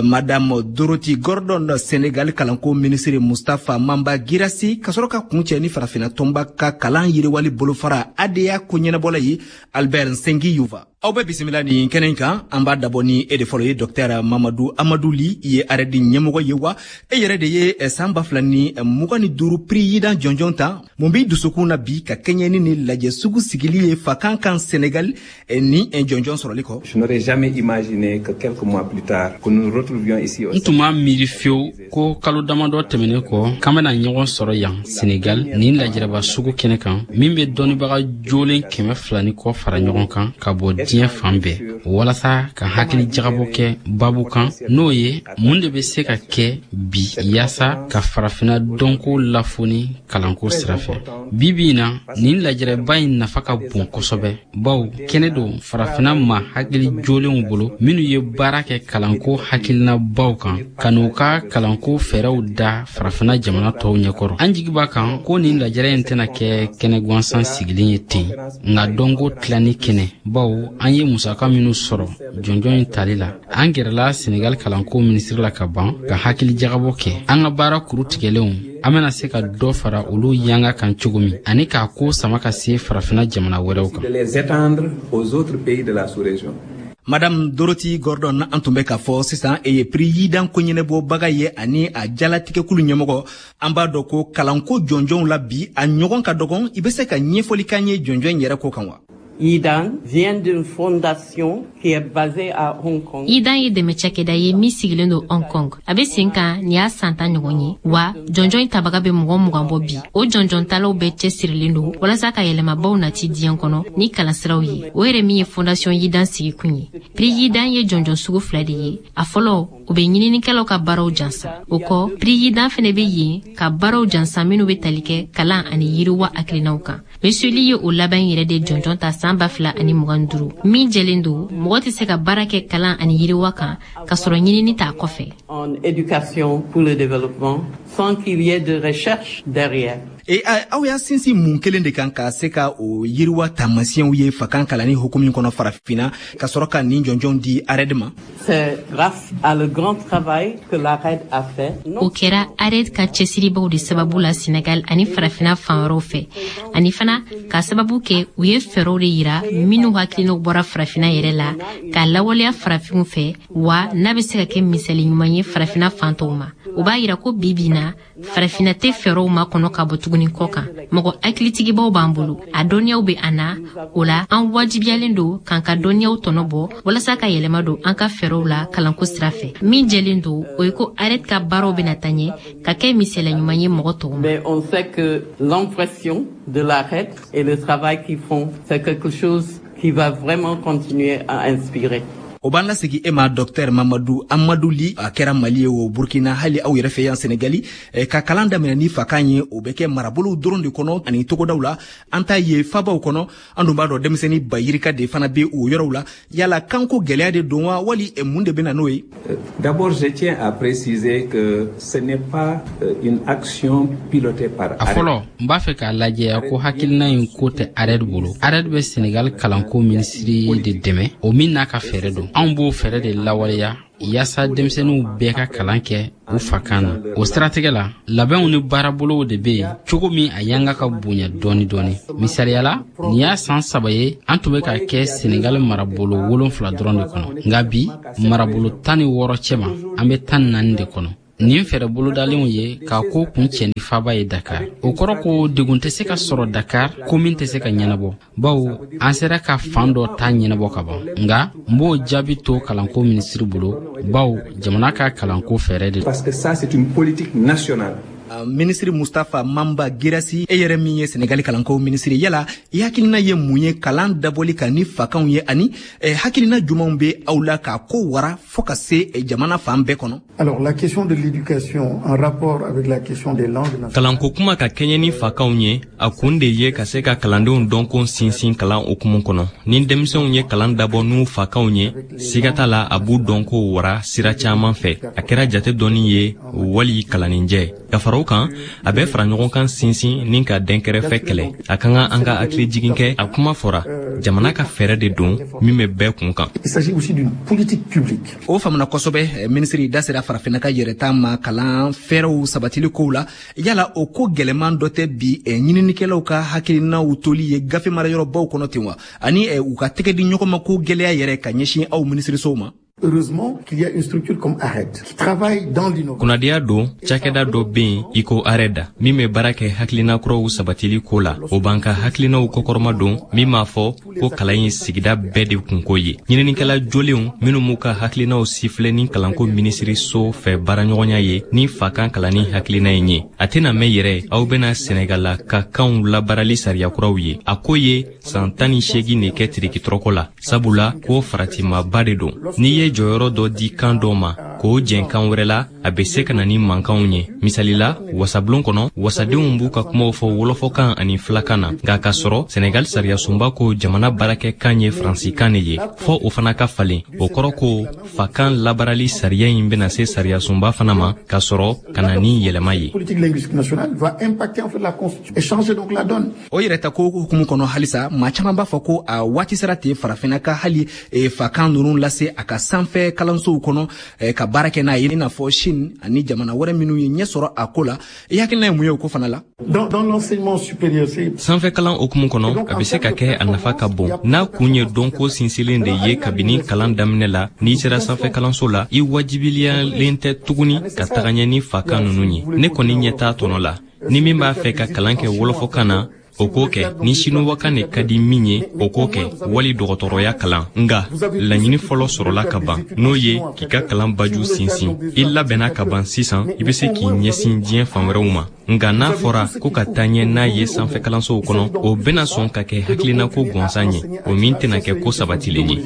Madame Dorothy Gordon, Senegal kalanko minisiri Mustafa Mamba Girassi, ka sɔrɔ ka kuncɛ ni Farafinna tɔnba ka kalan yiriwali bolofara ADA ko ɲɛnabɔla ye Albert Nsengi Yuva. Aw bɛ bisimila nin kɛnɛ kan. An b'a dabɔ ni e de fɔlɔ ye, Dr Mamadu Amadu Li. I ye ARED ɲɛmɔgɔ ye, wa e yɛrɛ de ye san 2025 prix Yidan jɔnjɔn ta. Mun b'i dusukun na bi ka kɛɲɛ ni nin lajɛ sugu sigili ye fakan kan Sénégal ni jɔnjɔn sɔrɔli kɔ? Je n'aurais jamais imaginé que quelques mois plus tard que nous nous retrouvions ici. N tun m'a miiri fiyewu ko kalo damadɔ tɛmɛnen kɔ, k'an bɛna ɲɔgɔn sɔrɔ yan Senegal, nin lajɛrɛba sugu kɛnɛ kan min bɛ dɔnnibaga jolen 200 ni kɔ fara ɲɔgɔn kan ka bɔ diɲɛ fan bɛɛ, walasa ka hakili jagabɔ kɛ babu kan, n'o ye mun de bɛ se ka kɛ bi yaasa ka Farafinna dɔnko lafoni kalanko sira fɛ. Bi bi in na, nin lajɛrɛba in nafa ka bon kosɛbɛ, bawo kɛnɛ don Farafinna ma hakili jolenw bolo minnu ye baara kɛ kalanko hakilinabaw kan, ka n'u ka kalanko fɛɛrɛw da Farafinna jamana tɔw ɲɛkɔrɔ. An jigi b'a kan ko nin lajɛrɛ in tɛna kɛ kɛnɛ gansan sigilen ye ten, nka dɔnko tilanni kɛnɛ, bawo an ye musaka minnu sɔrɔ jɔnjɔn in tali la, an gɛrɛla Senegal kalanko minisiri la ka ban ka hakili jagabɔ kɛ an ka baara kuru tigɛlenw, an bɛna se ka dɔ fara olu yanga kan cogo min, ani k'a ko sama ka se Farafinna jamana wɛrɛw kan. Madame Dorothy Gordon, an tun bɛ k'a fɔ sisan, e ye prix Yidan ko ɲɛnabɔbaga ye ani a jalatigɛkulu ɲɛmɔgɔ. An b'a dɔn ko kalanko jɔnjɔnw la bi, a ɲɔgɔn ka dɔgɔn. I bɛ se ka ɲɛfɔli k'an ye jɔnjɔn in yɛrɛ ko kan wa? Yidan vient d'une fondation qui est basée à Hong Kong. Yidan ye dɛmɛ cakɛda ye min sigilen don Hong Kong. A bɛ sen kan nin y'a san 10 ɲɔgɔn ye, wa jɔnjɔn in tabaga bɛ mɔgɔ 20 bɔ bi. O jɔnjɔn talaw bɛɛ cɛsirilen don walasa ka yɛlɛmabaw nati diɲɛ kɔnɔ ni kalansiraw ye. O yɛrɛ min ye fondation Yidan sigikun ye. Prix Yidan ye jɔnjɔn sugu 2 de ye. A fɔlɔ, o bɛ ɲininikɛlaw ka baaraw jansa. O kɔ, prix Yidan fɛnɛ bɛ yen ka baaraw jansa minnu bɛ tali kɛ kalan ani yiriwa hakilinaw kan. Monsieur Lee ye o laban yɛrɛ de jɔnjɔn ta san 2025. Min jɛlen don, mɔgɔ tɛ se ka baara kɛ kalan ani yiriwa kan ka sɔrɔ ɲinini t'a kɔfɛ. En éducation pour le développement sans qu'il y ait de recherche derrière. E aw y'a sinsin mun kelen de kan ka se ka o yiriwa taamasiyɛnw ye fakan kalanni hukumu kɔnɔ Farafinna, ka sɔrɔ ka nin jɔnjɔn di ARED ma? C'est grâce à le grand grand travail que l'ARED a fait. O kɛra ARED ka cɛsiribaw de sababu la Senegal ani farafina fan wɛrɛw fɛ, ani fana k'a sababu kɛ u ye fɛɛrɛw de yira minnu hakilinaw bɔra farafina yɛrɛ la k'a lawaleya farafinw fɛ, wa n'a bɛ se ka kɛ misali ɲuman ye farafina fan tɔw ma. O b'a yira ko bi bi na farafina tɛ fɛɛrɛw makɔnɔ ka bɔ tuguni kɔ kan. Mɔgɔ hakilitigibaw b'an bolo, a dɔnniyaw bɛ an na, o la an wajibiyalen don k'an ka dɔnniyaw tɔnɔ bɔ walasa ka yɛlɛma don an ka fɛɛrɛw la kalanko sira fɛ. Min jɛlen don, o ye ko ARED ka baaraw bɛna taa ɲɛ ka kɛ misaliya ɲuman ye mɔgɔ tɔw ma. Mais on sait que l'impression de l'ARED et le travail qu'ils font, c'est quelque chose qui va vraiment continuer à inspirer. O b'an lasegi e ma, Dɔktɛr Mamadu Amadu Li. A kɛra Mali ye o, Burkina, hali aw yɛrɛ fɛ yan Senegali, ka kalan daminɛ ni fakan ye, o bɛ kɛ marabolow dɔrɔn de kɔnɔ ani togodaw la. An t'a ye fabaw kɔnɔ. An dun b'a dɔn denmisɛnnin ba yirika de fana bɛ o yɔrɔw la. Yala kanko gɛlɛya de don wa, wali mun de bɛ na n'o ye? D'abord, je tiens à préciser que ce n'est pas une action pilotée par A fɔlɔ, n b'a fɛ k'a lajɛya ko hakilina in ko tɛ ARED bolo. ARED bɛ Senegal kalanko minisiri de dɛmɛ, o min n'a ka fɛɛrɛ don. Anw b'o fɛɛrɛ de lawaleya yaasa denmisɛnninw bɛɛ ka kalan kɛ u fakan na. O siratigɛ la, labɛnw ni baarabolow de bɛ yen cogo min a yanga ka bonya dɔɔni dɔɔni. Misaliya la, nin y'a san 3 ye an tun bɛ ka kɛ Senegal marabolo 7 dɔrɔn de kɔnɔ, nka bi marabolo 16 cɛma, an bɛ 14 de kɔnɔ. Nin fɛɛrɛ bolodalenw ye k'a ko kun cɛ ni faba ye Dakar. O kɔrɔ ko degun tɛ se ka sɔrɔ Dakar ko min tɛ se ka ɲɛnabɔ, bawo an sera ka fan dɔ ta ɲɛnabɔ ka ban. Nka n b'o jaabi to kalanko minisiri bolo, bawo jamana ka kalanko fɛɛrɛ de. Parce que ça, c'est une politique nationale. Minisiri Mustafa Mamba Girasi, e yɛrɛ min ye Senegali kalanko minisiri, yala i hakilina ye mun ye kalan dabɔli kan ni fakanw ye, ani hakilina jumanw bɛ aw la k'a ko wara fɔɔ ka se jamana fan bɛɛ kɔnɔ? Alors, la question de l'éducation en rapport avec la question des langues nationales. Kalanko kuma ka kɛɲɛ ni fakanw ye, a kun de ye ka se ka kalandenw dɔnko sinsin kalan hukumu kɔnɔ. Ni denmisɛnw ye kalan dabɔ n'u fakanw ye, siga t'a la a b'u dɔnko wara sira caman fɛ. A kɛra jate dɔnni ye wali kalanninjɛ. Ka fara o kan, a bɛ fara ɲɔgɔn kan sinsin ni ka dɛnkɛrɛfɛ kɛlɛ. A ka kan an ka hakili jigin kɛ, a kuma fɔra, jamana ka fɛɛrɛ de don min bɛ bɛɛ kun kan. Il s'agit aussi d'une politique publique. O faamuna kosɛbɛ. Minisiri da sera farafinna ka yɛrɛta ma kalan fɛɛrɛw sabatili kow la. Yala o ko gɛlɛman dɔ tɛ bi ɲininikɛlaw ka hakilinaw toli ye gafe marayɔrɔbaw kɔnɔ ten wa, ani u ka tɛgɛ di ɲɔgɔn ma ko gɛlɛya yɛrɛ ka ɲɛsin aw minisirisow ma? Heureusement qu'il y a une structure comme ARED qui travaille dans l'innovation. Kunnadiya don, cakɛda dɔ bɛ yen i ko ARED min bɛ baara kɛ hakilina kuraw sabatili ko la. O b'an ka hakilinaw kɔkɔrɔma don, min m'a fɔ ko kalan ye sigida bɛɛ de kunko ye. Ɲininikɛla jolenw minnu m'u ka hakilinaw sifilɛ ni kalanko minisiriso fɛ baaraɲɔgɔnya ye ni fakan kalanni hakilina in ye. A tɛna mɛn yɛrɛ, aw bɛna Senegal ka kanw labaarali sariya kuraw ye. A ko ye san 18 de kɛ tirikitɔrɔkɔ la, sabula ko faratimaba de don. N'i ye jɔyɔrɔ dɔ di kan dɔ ma k'o jɛn kan wɛrɛ la, a bɛ se ka na ni mankanw ye. Misali la, wasabulon kɔnɔ, wasadenw b'u ka kumaw fɔ wɔlɔfɔkan ani filakan na, nka k'a sɔrɔ Senegal sariyasunba ko jamana baarakɛkan ye faransikan de ye, fɔ o fana ka falen. O kɔrɔ ko fakan labaarali sariya in bɛna se sariyasunba fana ma k'a sɔrɔ ka na ni yɛlɛma ye. O yɛrɛ ta ko hukumu kɔnɔ halisa, maa caman b'a fɔ ko a waati sera ten farafinna ka hali fakan ninnu lase a ka sanfɛ kalansow kɔnɔ ka baara kɛ n'a ye, i n'a fɔ Chine ani jamana wɛrɛ minnu ye ɲɛ sɔrɔ a ko la. I hakilina ye mun ye o ko fana la? Sanfɛ kalan hukumu kɔnɔ, a bɛ se ka kɛ a nafa ka bon n'a kun ye dɔnko sinsinlen de ye kabini kalan daminɛ la. N'i sera sanfɛ kalanso la, i wajibiliyalen tɛ tuguni ka taga ɲɛ ni fakan ninnu ye. Ne kɔni ɲɛ t'a tɔnɔ la. Ni min b'a fɛ ka kalan kɛ wɔlɔfɔkan na, o k'o kɛ. Ni sinuwakan de ka di min ye, o k'o kɛ, wali dɔgɔtɔrɔya kalan. Nka laɲini fɔlɔ sɔrɔla ka ban, n'o ye k'i ka kalan baju sinsin. I labɛnna ka ban sisan, i bɛ se k'i ɲɛsin diɲɛ fan wɛrɛw ma. Nka n'a fɔra ko ka taa ɲɛ n'a ye sanfɛ kalansow kɔnɔ, o bɛna sɔn ka kɛ hakilinako gansan ye, o min tɛna kɛ ko sabatilen ye.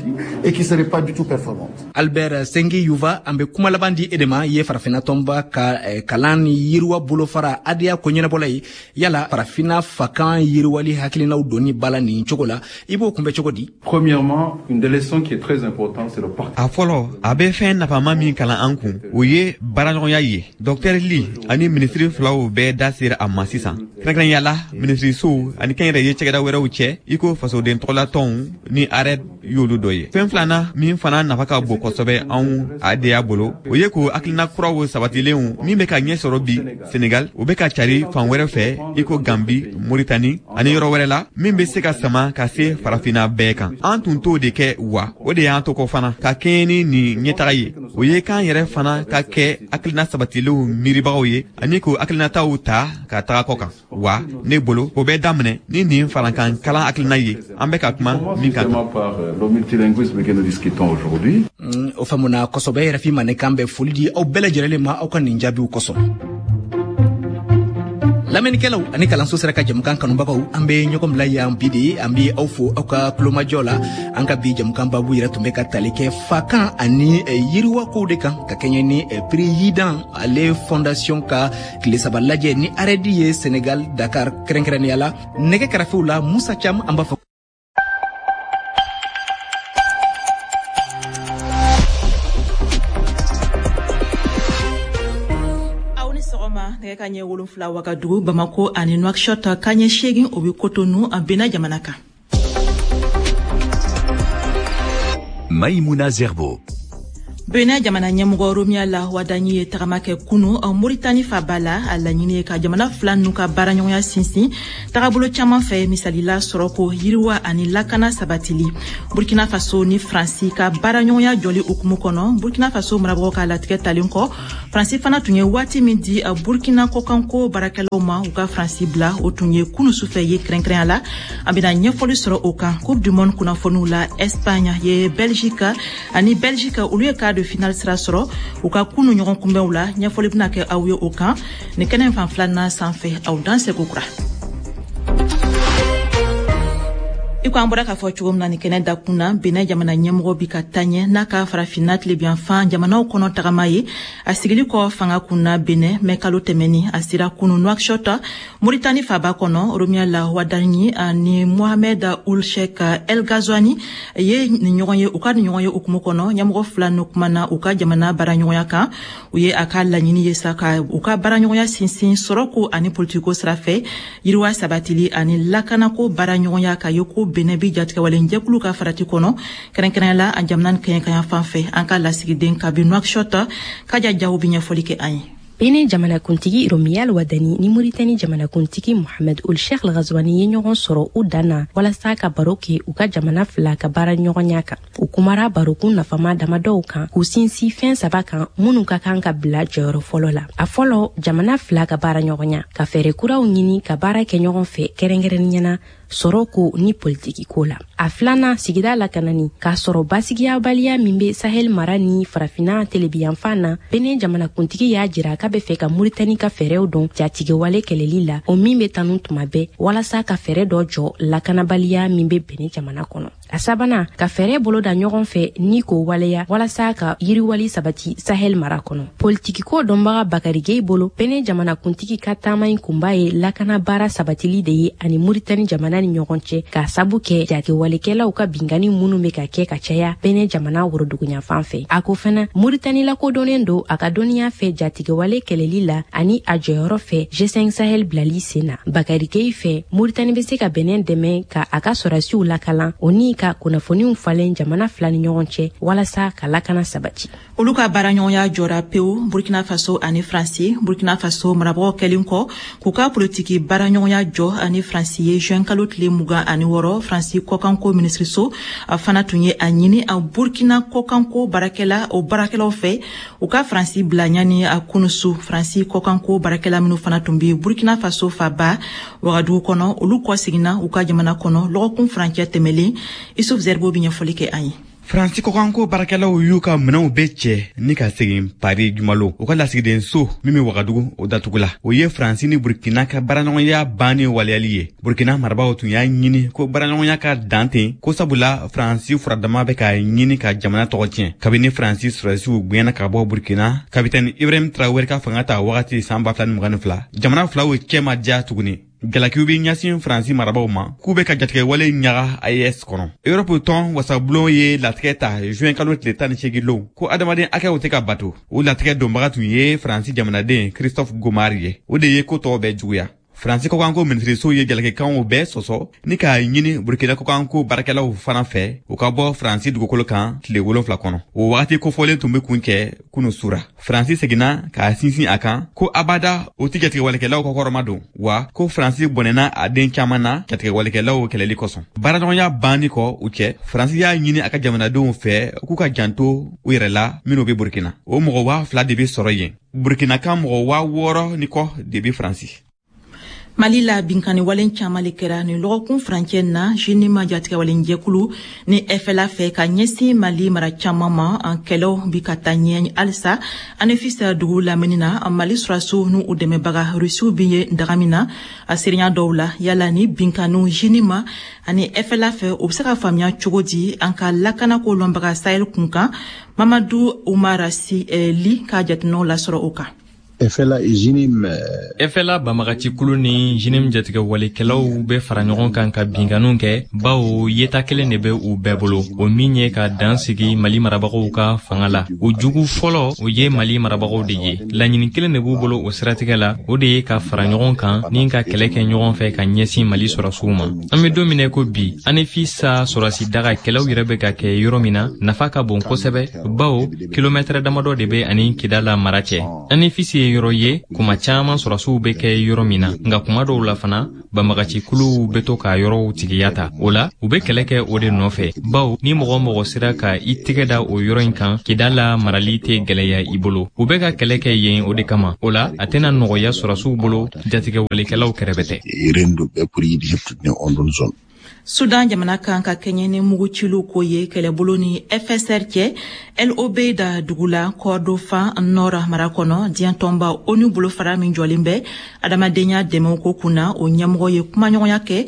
Albert Sengi Yuva, an bɛ kuma laban di e de ma. I ye farafinna tɔnba ka kalan ni yiriwa bolofara ADEA ko ɲɛnabɔla ye. Yala farafinna fakan yiriwali hakilinaw donni ba la nin cogo la, i b'o kunbɛ cogo di? Premièrement, une des leçons qui est très importante, c'est le partenariat. A fɔlɔ, a bɛ fɛn nafama min kalan an kun, o ye baaraɲɔgɔnya ye. Dr Ly ani minisiri filaw bɛɛ bɛɛ da sera a ma sisan, kɛrɛnkɛrɛnya la minisirisow ani kɛnyɛrɛye cakɛda wɛrɛw cɛ, i ko fasoden tɔgɔlatɔnw ni ARED y'olu dɔ ye. Fɛn filanan min fana nafa ka bon kosɛbɛ anw ADA bolo, o ye k'o hakilina kuraw sabatilenw min bɛ ka ɲɛ sɔrɔ bi Senegal, o bɛ ka cari fan wɛrɛ fɛ, i ko Gambi, Moritani ani yɔrɔ wɛrɛ la, min bɛ se ka sama ka se farafinna bɛɛ kan. An tun t'o de kɛ wa, o de y'an to kɔ fana ka kɛɲɛ ni nin ɲɛtaga ye. O ye k'an yɛrɛ fana ka kɛ hakilina sabatilenw miiribagaw ye ani k'o hakilinataw ta ka taga kɔ kan. Wa ne bolo, o bɛ daminɛ ni nin farankan kalan hakilina ye an bɛ ka kuma min kan. O faamuna kosɛbɛ. RFI Mandenkan bɛ foli di aw bɛɛ lajɛlen ma aw ka nin jaabiw kosɔn. Lamɛnnikɛlaw ani kalanso sera ka jamukan kanubagaw, an bɛ ɲɔgɔn bila yan bi de. An bɛ aw fo aw ka tulomajɔ la. An ka bi jamukan babu yɛrɛ tun bɛ ka tali kɛ fakan ani yiriwakow de kan, ka kɛɲɛ ni Prix Yidan ale fondation ka tile 3 lajɛ ni ARED ye Senegal Dakar kɛrɛnkɛrɛnnenya la. Nɛgɛ kɛrɛfɛw la Musa Cam, an b'a fɔ nɛgɛ ka ɲɛ 7 Wagadugu, Bamako ani Nouakchott ka ɲɛ 8, o bɛ Cotonou a Benin jamana kan. Maïmouna Zerbo. Benin jamana ɲɛmɔgɔ Romial Wadani ye tagama kɛ kunu Moritani faba la. A laɲini ye ka jamana fila n'u ka baaraɲɔgɔnya sinsin tagabolo caman fɛ, misalila sɔrɔko, yiriwa ani lakana sabatili. Burkina Faso ni Faransi ka baaraɲɔgɔnya jɔli hukumu kɔnɔ, Burkina Faso marabagaw ka latigɛ talen kɔ, Faransi fana tun ye waati min di Burkina kɔkanko baarakɛlaw ma u ka Faransi bila, o tun ye kunu sufɛ ye kɛrɛnkɛrɛnya la. An bɛna ɲɛfɔli sɔrɔ o kan. Coupe du monde kunnafoniw la, Espagne ye Belgique ani Belgique olu ye quart de finale sira sɔrɔ u ka kunu ɲɔgɔn kunbɛnw la. Ɲɛfɔli bɛna kɛ aw ye o kan nin kɛnɛ fan filanan sanfɛ. Aw dan seko kura. I ko an bɔra k'a fɔ cogo min na nin kɛnɛ dakun na, Benin jamana ɲɛmɔgɔ bi ka taɲɛ n'a ka farafinna tilebiyanfan jamanaw kɔnɔ tagama ye. A sigili kɔ fanga kun na Benin mɛ kalo tɛmɛni, a sera kunu Nouakchott Moritani faba kɔnɔ. Romial Wadani ani Mohamed Ould Cheikh El Ghazouani ye nin ɲɔgɔn ye. U ka nin ɲɔgɔn ye hukumu kɔnɔ, ɲɛmɔgɔ fila n'u kumana u ka jamana baaraɲɔgɔnya kan. U ye a ka laɲini ye sa ka u ka baaraɲɔgɔnya sinsin sɔrɔko ani politikiko sira fɛ, yiriwa sabatili ani lakanako baaraɲɔgɔnya, ka ye ko Benin bi jatigɛwalen jɛkulu ka farati kɔnɔ, kɛrɛnkɛrɛnya la a jamana kɛɲɛkanya fan fɛ. An ka lasigiden kabi Nouakchott, Kaja Jaw bi ɲɛfɔli kɛ an ye. Benin jamanakuntigi Romial Wadani ni Moritani jamanakuntigi Mohamed Ould Cheikh El Ghazouani ye ɲɔgɔn sɔrɔ u dan na walasa ka baro kɛ u ka jamana fila ka baara ɲɔgɔnya kan. U kumara barokun nafama damadɔw kan, k'u sinsin fɛn 3 kan minnu ka kan ka bila jɔyɔrɔ fɔlɔ la. A fɔlɔ, jamana fila ka baara ɲɔgɔnya, ka fɛɛrɛ kuraw ɲini ka baara kɛ ɲɔgɔn fɛ kɛrɛnkɛrɛnnenya na sɔrɔko ni politiki ko la. A filanan, sigida lakanani, k'a sɔrɔ basigiyabaliya min bɛ Sahel mara ni farafinna telebiyanfan na. Benin jamanakuntigi y'a jira k'a bɛ fɛ ka Moritani ka fɛɛrɛw dɔn jatigɛwale kɛlɛli la, o min bɛ tanu tuma bɛɛ, walasa ka fɛɛrɛ dɔ jɔ lakanabaliya min bɛ Benin jamana kɔnɔ. A sabanan, ka fɛɛrɛ boloda ɲɔgɔn fɛ ni k'o waleya walasa ka yiriwali sabati Sahel mara kɔnɔ. Politikiko dɔnbaga Bakari Gueye bolo, Benin jamanakuntigi ka taama in kunba ye lakana baara sabatili de ye ani Moritani jamana ni ɲɔgɔn cɛ, k'a sabu kɛ jatigɛwalekɛlaw ka binkanni minnu bɛ ka kɛ ka caya Benin jamana woroduguyanfan fɛ. A ko fana, Moritani lakodɔnnen don a ka dɔnniya fɛ jatigɛwale kɛlɛli la ani a jɔyɔrɔ fɛ G5 Sahel bilali sen na. Bakari Gueye fɛ, Moritani bɛ se ka Benin dɛmɛ ka a ka sɔrɔdasiw lakalan, o ni ka kunnafoniw falen jamana fila ni ɲɔgɔn cɛ walasa ka lakana sabati. Olu ka baaraɲɔgɔnya jɔra pewu Burkina Faso ani Faransi. Burkina Faso marabagaw kɛlen kɔ k'u ka politiki baaraɲɔgɔnya jɔ ani Faransi ye juin kalo tile 26, Faransi kɔkanko minisiriso fana tun ye a ɲini a Burkina kɔkanko baarakɛla o baarakɛlaw fɛ u ka Faransi bila ɲani a kunusu. Faransi kɔkanko baarakɛla minnu fana tun bɛ Burkina Faso faba Wagadugu kɔnɔ, olu kɔ seginna u ka jamana kɔnɔ lɔgɔkun furancɛ tɛmɛlen. Isuf Zerbo bi ɲɛfɔli kɛ an ye. Faransi kɔkanko baarakɛlaw y'u ka minɛnw bɛɛ cɛ ni ka segin Paris jumalo. U ka lasigidenso min bɛ Wagadugu, o datugula. O ye Faransi ni Burkina ka baaraɲɔgɔnya banni waleyali ye. Burkina marabagaw tun y'a ɲini ko baaraɲɔgɔnya ka dan ten, ko sabula Faransi furadama bɛ ka ɲini ka jamana tɔgɔ tiɲɛ. Kabini Faransi sɔrɔdasiw gɛnna ka bɔ Burkina, kapitɛni Ibrahim Traoré ka fanga ta wagati san 2022, jamana filaw cɛ ma diya tuguni. Jalakiw bɛ ɲɛsin Faransi marabaw ma k'u bɛ ka jatigɛwale ɲaga AES kɔnɔ. Europe tɔn wasabulon ye latigɛ ta juin kalo tile 18 lon ko adamaden hakɛw tɛ ka bato. O latigɛ donbaga tun ye Faransi jamanaden Christophe Gomard ye. O de ye ko tɔw bɛɛ juguya. Faransi kɔkanko minisiriso ye jalakikanw bɛɛ sɔsɔ ni k'a ɲini Burkina kɔkanko baarakɛlaw fana fɛ u ka bɔ Faransi dugukolo kan tile 7 kɔnɔ. O wagati kofɔlen tun bɛ kun cɛ kunu sura. Faransi seginna k'a sinsin a kan ko abada o tɛ jatigɛwalekɛlaw kɔkɔrɔma don, wa ko Faransi bɔnɛna a den caman na jatigɛwalekɛlaw kɛlɛli kosɔn. Baaraɲɔgɔnya banni kɔ u cɛ, Faransi y'a ɲini a ka jamanadenw fɛ k'u ka janto u yɛrɛ la minnu bɛ Burkina. O mɔgɔ 2000 de bɛ sɔrɔ yen. Burkina kan mɔgɔ 6000 ni kɔ de bɛ Faransi. Mali la binkanni walen caman le kɛra nin lɔgɔkun furancɛ na JNIM jatigɛwalenjɛkulu ni FLA fɛ ka ɲɛsin Mali mara caman ma. An kɛlɛw bi ka taa ɲɛ halisa Anefis dugu lamini na. Mali sɔrɔdasiw n'u dɛmɛbaga Rusiw bi ye daga min na a serinya dɔw la. Yala ni binkanniw JNIM ani FLA fɛ, o bɛ se ka faamuya cogo di? An ka lakanako lɔnbaga Sahel kunkan Mamadu Umar Si Li ka jateminɛw lasɔrɔ o kan. FLA et JNIM. FLA banbagatikulu ni JNIM jatigɛwalekɛlaw bɛ fara ɲɔgɔn kan ka binkanniw kɛ, bawo yeta kelen de bɛ u bɛɛ bolo, o min ye ka dan sigi Mali marabagaw ka fanga la. O jugu fɔlɔ, o ye Mali marabagaw de ye. Laɲini kelen de b'u bolo o siratigɛ la, o de ye ka fara ɲɔgɔn kan ni ka kɛlɛ kɛ ɲɔgɔn fɛ ka ɲɛsin Mali sɔrɔsiw ma. An bɛ don min na ko bi, Anefis sɔrɔsi daga kɛlɛw yɛrɛ bɛ ka kɛ yɔrɔ min na, nafa ka bon kosɛbɛ, bawo kilomɛtɛrɛ damadɔ de bɛ ani Kidala mara cɛ. Anefis ye yɔrɔ ye kuma caman sɔrɔsiw bɛ kɛ yɔrɔ min na, nka kuma dɔw la fana banbagacikuluw bɛ to ka yɔrɔw tigiya ta. O la u bɛ kɛlɛ kɛ o de nɔfɛ, bawo ni mɔgɔ mɔgɔ sera ka i tɛgɛ da o yɔrɔ in kan, Kidala marali tɛ gɛlɛya i bolo. U bɛ ka kɛlɛ kɛ yen o de kama. O la a tɛna nɔgɔya sɔrɔsiw bolo jatigɛwalekɛlaw kɛrɛfɛ tɛ. Sudan jamana kan ka kɛɲɛ ni muguciliw ko ye kɛlɛbolo ni FSR cɛ El Obeid dugu la Kordofan Nord mara kɔnɔ. Diɲɛ tɔnba ONU bolofara min jɔlen bɛ adamadenya dɛmɛw ko kunna, o ɲɛmɔgɔ ye kumaɲɔgɔnya kɛ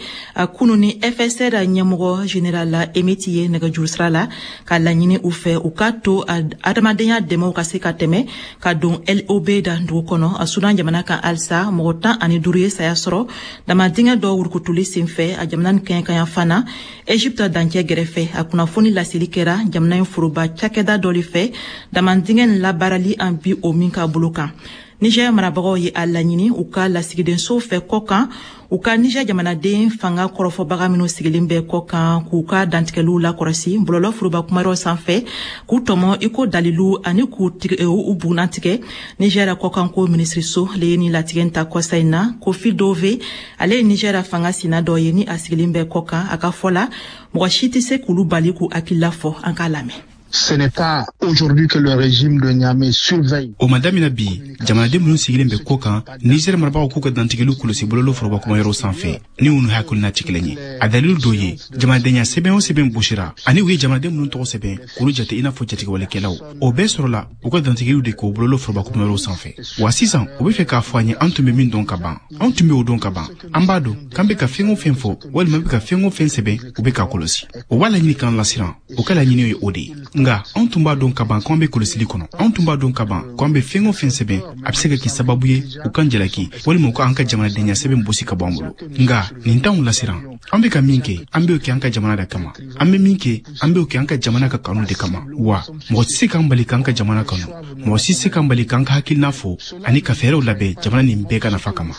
kunu ni FSR ɲɛmɔgɔ général Hemeti ye nɛgɛjuru sira la, ka laɲini u fɛ u ka to adamadenya dɛmɛw ka se ka tɛmɛ ka don El Obeid dugu kɔnɔ. Sudan jamana kan halisa, mɔgɔ 15 ye saya sɔrɔ damadingɛ dɔ wurukutuli senfɛ a jamana ni kɛɲɛkanya fana Egypte dancɛ gɛrɛfɛ. A kunnafoni laseli kɛra jamana in foroba cakɛda dɔ le fɛ damandingɛ labaarali an bi o min ka bolo kan. Niger marabagaw ye a laɲini u ka lasigidenso fɛ kɔkan u ka Niger jamanaden fanga kɔrɔfɔbaga minw sigilen bɛ kɔkan k'u ka dantigɛliw lakɔrɔsi bɔlɔlɔ foroba kumayɔrɔ sanfɛ, k'u tɔmɔ i ko dalilu ani k'u u bugunnatigɛ. Niger kɔkanko minisiriso le ye nin latigɛ ta kɔsa in na. Kofi Dove, ale ye Niger fanga sina dɔ ye ni a sigilen bɛ kɔkan, a ka fɔ la mɔgɔ si tɛ se k'olu bali k'u hakilila fɔ. An k'a lamɛn. Ce n'est pas aujourd'hui que le régime de Niamey surveille. O ma daminɛ bi, jamanaden minnu sigilen bɛ kɔ kan, Niger marabagaw k'u ka dantigɛliw kɔlɔsi bɔlɔlɔ foroba kumayɔrɔ sanfɛ ni u hakilina tɛ kelen ye. A dalilu dɔ ye, jamanadenya sɛbɛn o sɛbɛn bɔsira ani u ye jamanaden minnu tɔgɔ sɛbɛn k'olu jate i n'a fɔ jatigɛwalekɛlaw, o bɛɛ sɔrɔla u ka dantigɛliw de k'o bɔlɔlɔ foroba kumayɔrɔ sanfɛ. Wa sisan u bɛ fɛ k'a fɔ an ye an tun bɛ min dɔn ka ban, anw tun bɛ o dɔn ka ban. An b'a dɔn k'an bɛ ka fɛn o fɛn fɔ walima an bɛ ka fɛn o fɛn sɛbɛn, u bɛ k'a kɔlɔsi. O b'a laɲini k'an lasiran, o ka laɲini ye o de ye. Nka anw tun b'a dɔn ka ban k'an bɛ kɔlɔsili kɔnɔ, anw tun b'a dɔn ka ban k'an bɛ fɛn o fɛn sɛbɛn, a bɛ se ka kɛ sababu ye u k'an jalaki walima u k'an ka jamanadenya sɛbɛn bɔsi ka bɔ an bolo. Nka nin t'anw lasiran. An bɛ ka min kɛ, an b'o kɛ an ka jamana de kama. An bɛ min kɛ, an b'o kɛ an ka jamana ka kanu de kama. Wa mɔgɔ tɛ se k'an bali k'an ka jamana kanu, mɔgɔ si tɛ se k'an bali k'an ka hakilina fɔ ani ka fɛɛrɛw labɛn jamana nin bɛɛ ka nafa kama.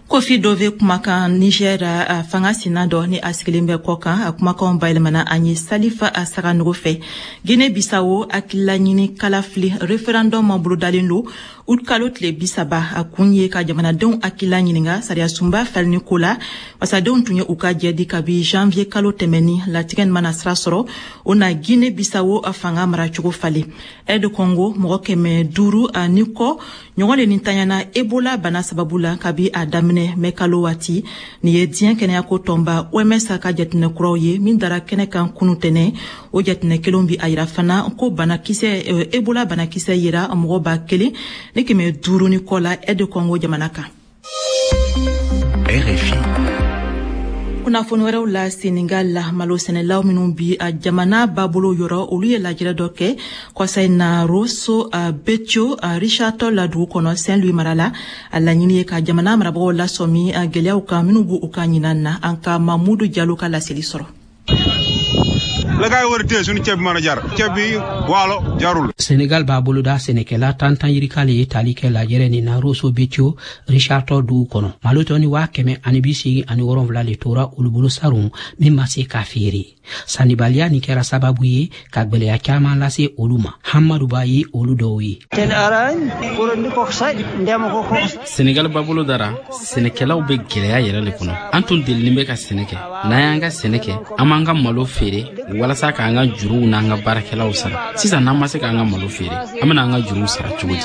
Kofi Dove kumakan Niger fanga sina dɔ ni a sigilen bɛ kɔ kan, a kumakanw bayɛlɛmana an ye Salifa a Saganogo fɛ. Guinée Bissau, hakililaɲini kalafili référendum bolodalen don août kalo tile 30. A kun ye ka jamanadenw hakilila ɲininka sariyasunba falenni ko la. Wasadenw tun ye u ka jɛ di kabi janvier kalo tɛmɛni. Latigɛ nin mana sira sɔrɔ, o na Guinée Bissau fanga maracogo falen. RD Congo, mɔgɔ 500 ani kɔ ɲɔgɔn le nintanyana Ebola bana sababu la kabi a daminɛ mɛ kalo waati. Nin ye diɲɛ kɛnɛyako tɔnba OMS ka jateminɛ kuraw ye min dara kɛnɛ kan kunu tɛnɛ. O jateminɛ kelenw bi a yira fana ko banakisɛ Ebola banakisɛ yera mɔgɔ 1500 ni kɔ la RD Congo jamana kan. RFI. Kunnafoni wɛrɛw la, Senegal la, malo sɛnɛlaw minnu bi a jamana babolo yɔrɔ, olu ye lajɛrɛ dɔ kɛ kɔsa in na Rosso Béthio Richard Toll la dugu kɔnɔ, Saint Louis mara la. A laɲini ye ka jamana marabagaw lasɔmi gɛlɛyaw kan minnu b'u ka ɲinan na. An ka Mamudu Jalo ka laseli sɔrɔ. La gaay war a téye suñu ceeb bi mën a jar, ceeb bi waalo jarul. Senegal b'a boloda sɛnɛkɛla 10 yirika le ye tali kɛ lajɛrɛ nin na Rosso Béthio Richard Toll dugu kɔnɔ. Malo tɔni 187 le tora olu bolo sarun min ma se ka feere. Sannibaliya nin kɛra sababu ye ka gwɛlɛya caaman lase olu ma. Hamadu Ba ye olu dɔw ye. Senegal babolo dara, sɛnɛkɛlaw bɛ gwɛlɛya yɛrɛ le kɔnɔ. An tun delinin bɛ ka sɛnɛ kɛ. N'an y'an ka sɛnɛ kɛ, an b'an ka malo feere walasa k'an ka juruw n'an ka baarakɛlaw sara. Sisan, n'an ma se k'an ka malo feere, an bɛna an ka juruw sara cogo di?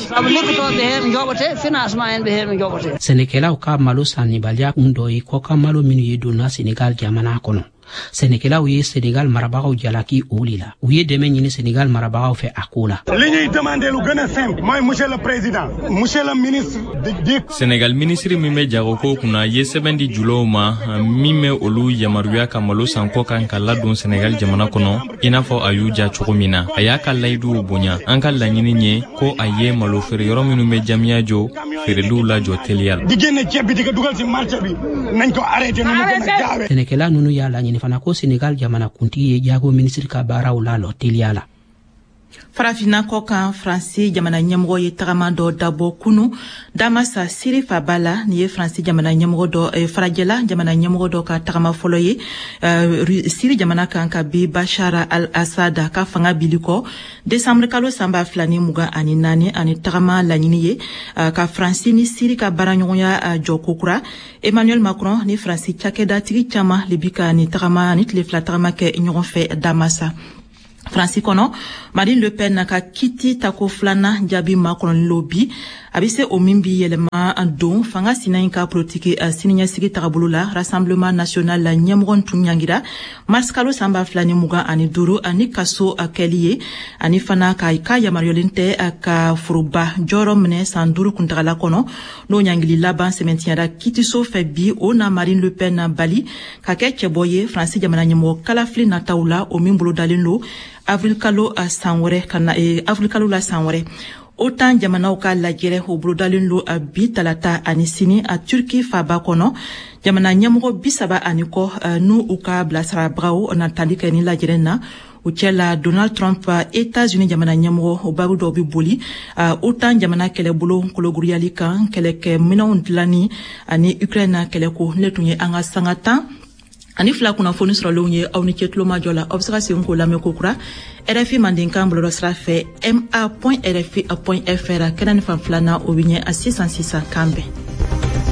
Sɛnɛkɛlaw ka malo sannibaliya kun dɔ ye kɔkan malo minnu ye donna Senegal jamana kɔnɔ. Sɛnɛkɛlaw ye Senegal marabagaw jalaki o le la. U ye dɛmɛ ɲini Senegal marabagaw fɛ a ko la. Li ñuy demandé lu gën a simple mooy, monsieur le président, monsieur le ministre di Senegal minisiri min bɛ jagoko kunna ye sɛbɛn di julaw ma min bɛ olu yamaruya ka malo san kɔ kan ka ladon Senegal jamana kɔnɔ, i n'a fɔ a y'u ja cogo min na. A y'a ka layiduw bonya. An ka laɲini ye ko a ye malo feere yɔrɔ minnu bɛ Diamniadio feereliw lajɔ teliya la. Di génne ceeb bi di ko dugal ci marché bi, nañ ko arrêté nu mu gën a gaawee. Sɛnɛkɛla nunu y'a laɲini fana ko Senegal jamana kuntigi ye jago minisiri ka baaraw lalɔ teliya la. Farafinna kɔ kan, Faransi jamana ɲɛmɔgɔ ye tagama dɔ dabɔ kunu Damasa, Siri faba la. Nin ye Faransi jamana ɲɛmɔgɔ dɔ, farajɛla jamana ɲɛmɔgɔ dɔ ka tagama fɔlɔ ye Siri jamana kan ka bi Bashar al-Assad ka fanga bili kɔ desanburu kalo san 2024. Ani tagama laɲini ye ka Faransi ni Siri ka baaraɲɔgɔnya jɔ kokura. Emmanuel Macron ni Faransi cakɛdatigi caman le bi ka ni tagama ni tile 2 tagama kɛ ɲɔgɔn fɛ Damasa. Faransi kɔnɔ, Marine Le Pen ka kiti tako filanan jaabi makɔnɔlen lo bi. A bɛ se o min bi yɛlɛma don fanga sina in ka politiki siniɲɛsigi tagabolo la. Rassemblement national la ɲɛmɔgɔ tun ɲangira mars kalo san 2025 ani kaso kɛli ye, ani fana ka yamaruyalen tɛ ka foroba jɔyɔrɔ minɛ san 5 kuntagala kɔnɔ. N'o ɲangili laban sɛmɛntiyara kitiso fɛ bi, o na Marine Le Pen bali ka kɛ cɛbɔ ye Faransi jamana ɲɛmɔgɔ kalafili nataw la, o min bolodalen lo avril kalo san wɛrɛ ka na, avril kalo la san wɛrɛ. OTAN jamanaw ka lajɛrɛ o bolodalen lo bi talata ani sini a Turki faba kɔnɔ. Jamana ɲɛmɔgɔ 30 ani kɔ n'u u ka bilasirabagaw na tali kɛ ni lajɛrɛ na. O cɛ la, Donald Trump, États-Unis jamana ɲɛmɔgɔ, o baabu dɔw bɛ boli OTAN jamana kɛlɛbolo kologiriyali kan, kɛlɛkɛ minɛnw dilanni ani Ukraine kɛlɛko. Ne tun ye an ka sanga 12 kunnafoni sɔrɔlenw ye. Aw ni ce tulomajɔ la. Aw bɛ se ka segin k'o lamɛn kokura RFI mandenkan bɔlɔlɔ sira fɛ, ma.rfi.fr. Kɛnɛ ni fan filanan, o bɛ ɲɛ a sisan sisan. Kan bɛn.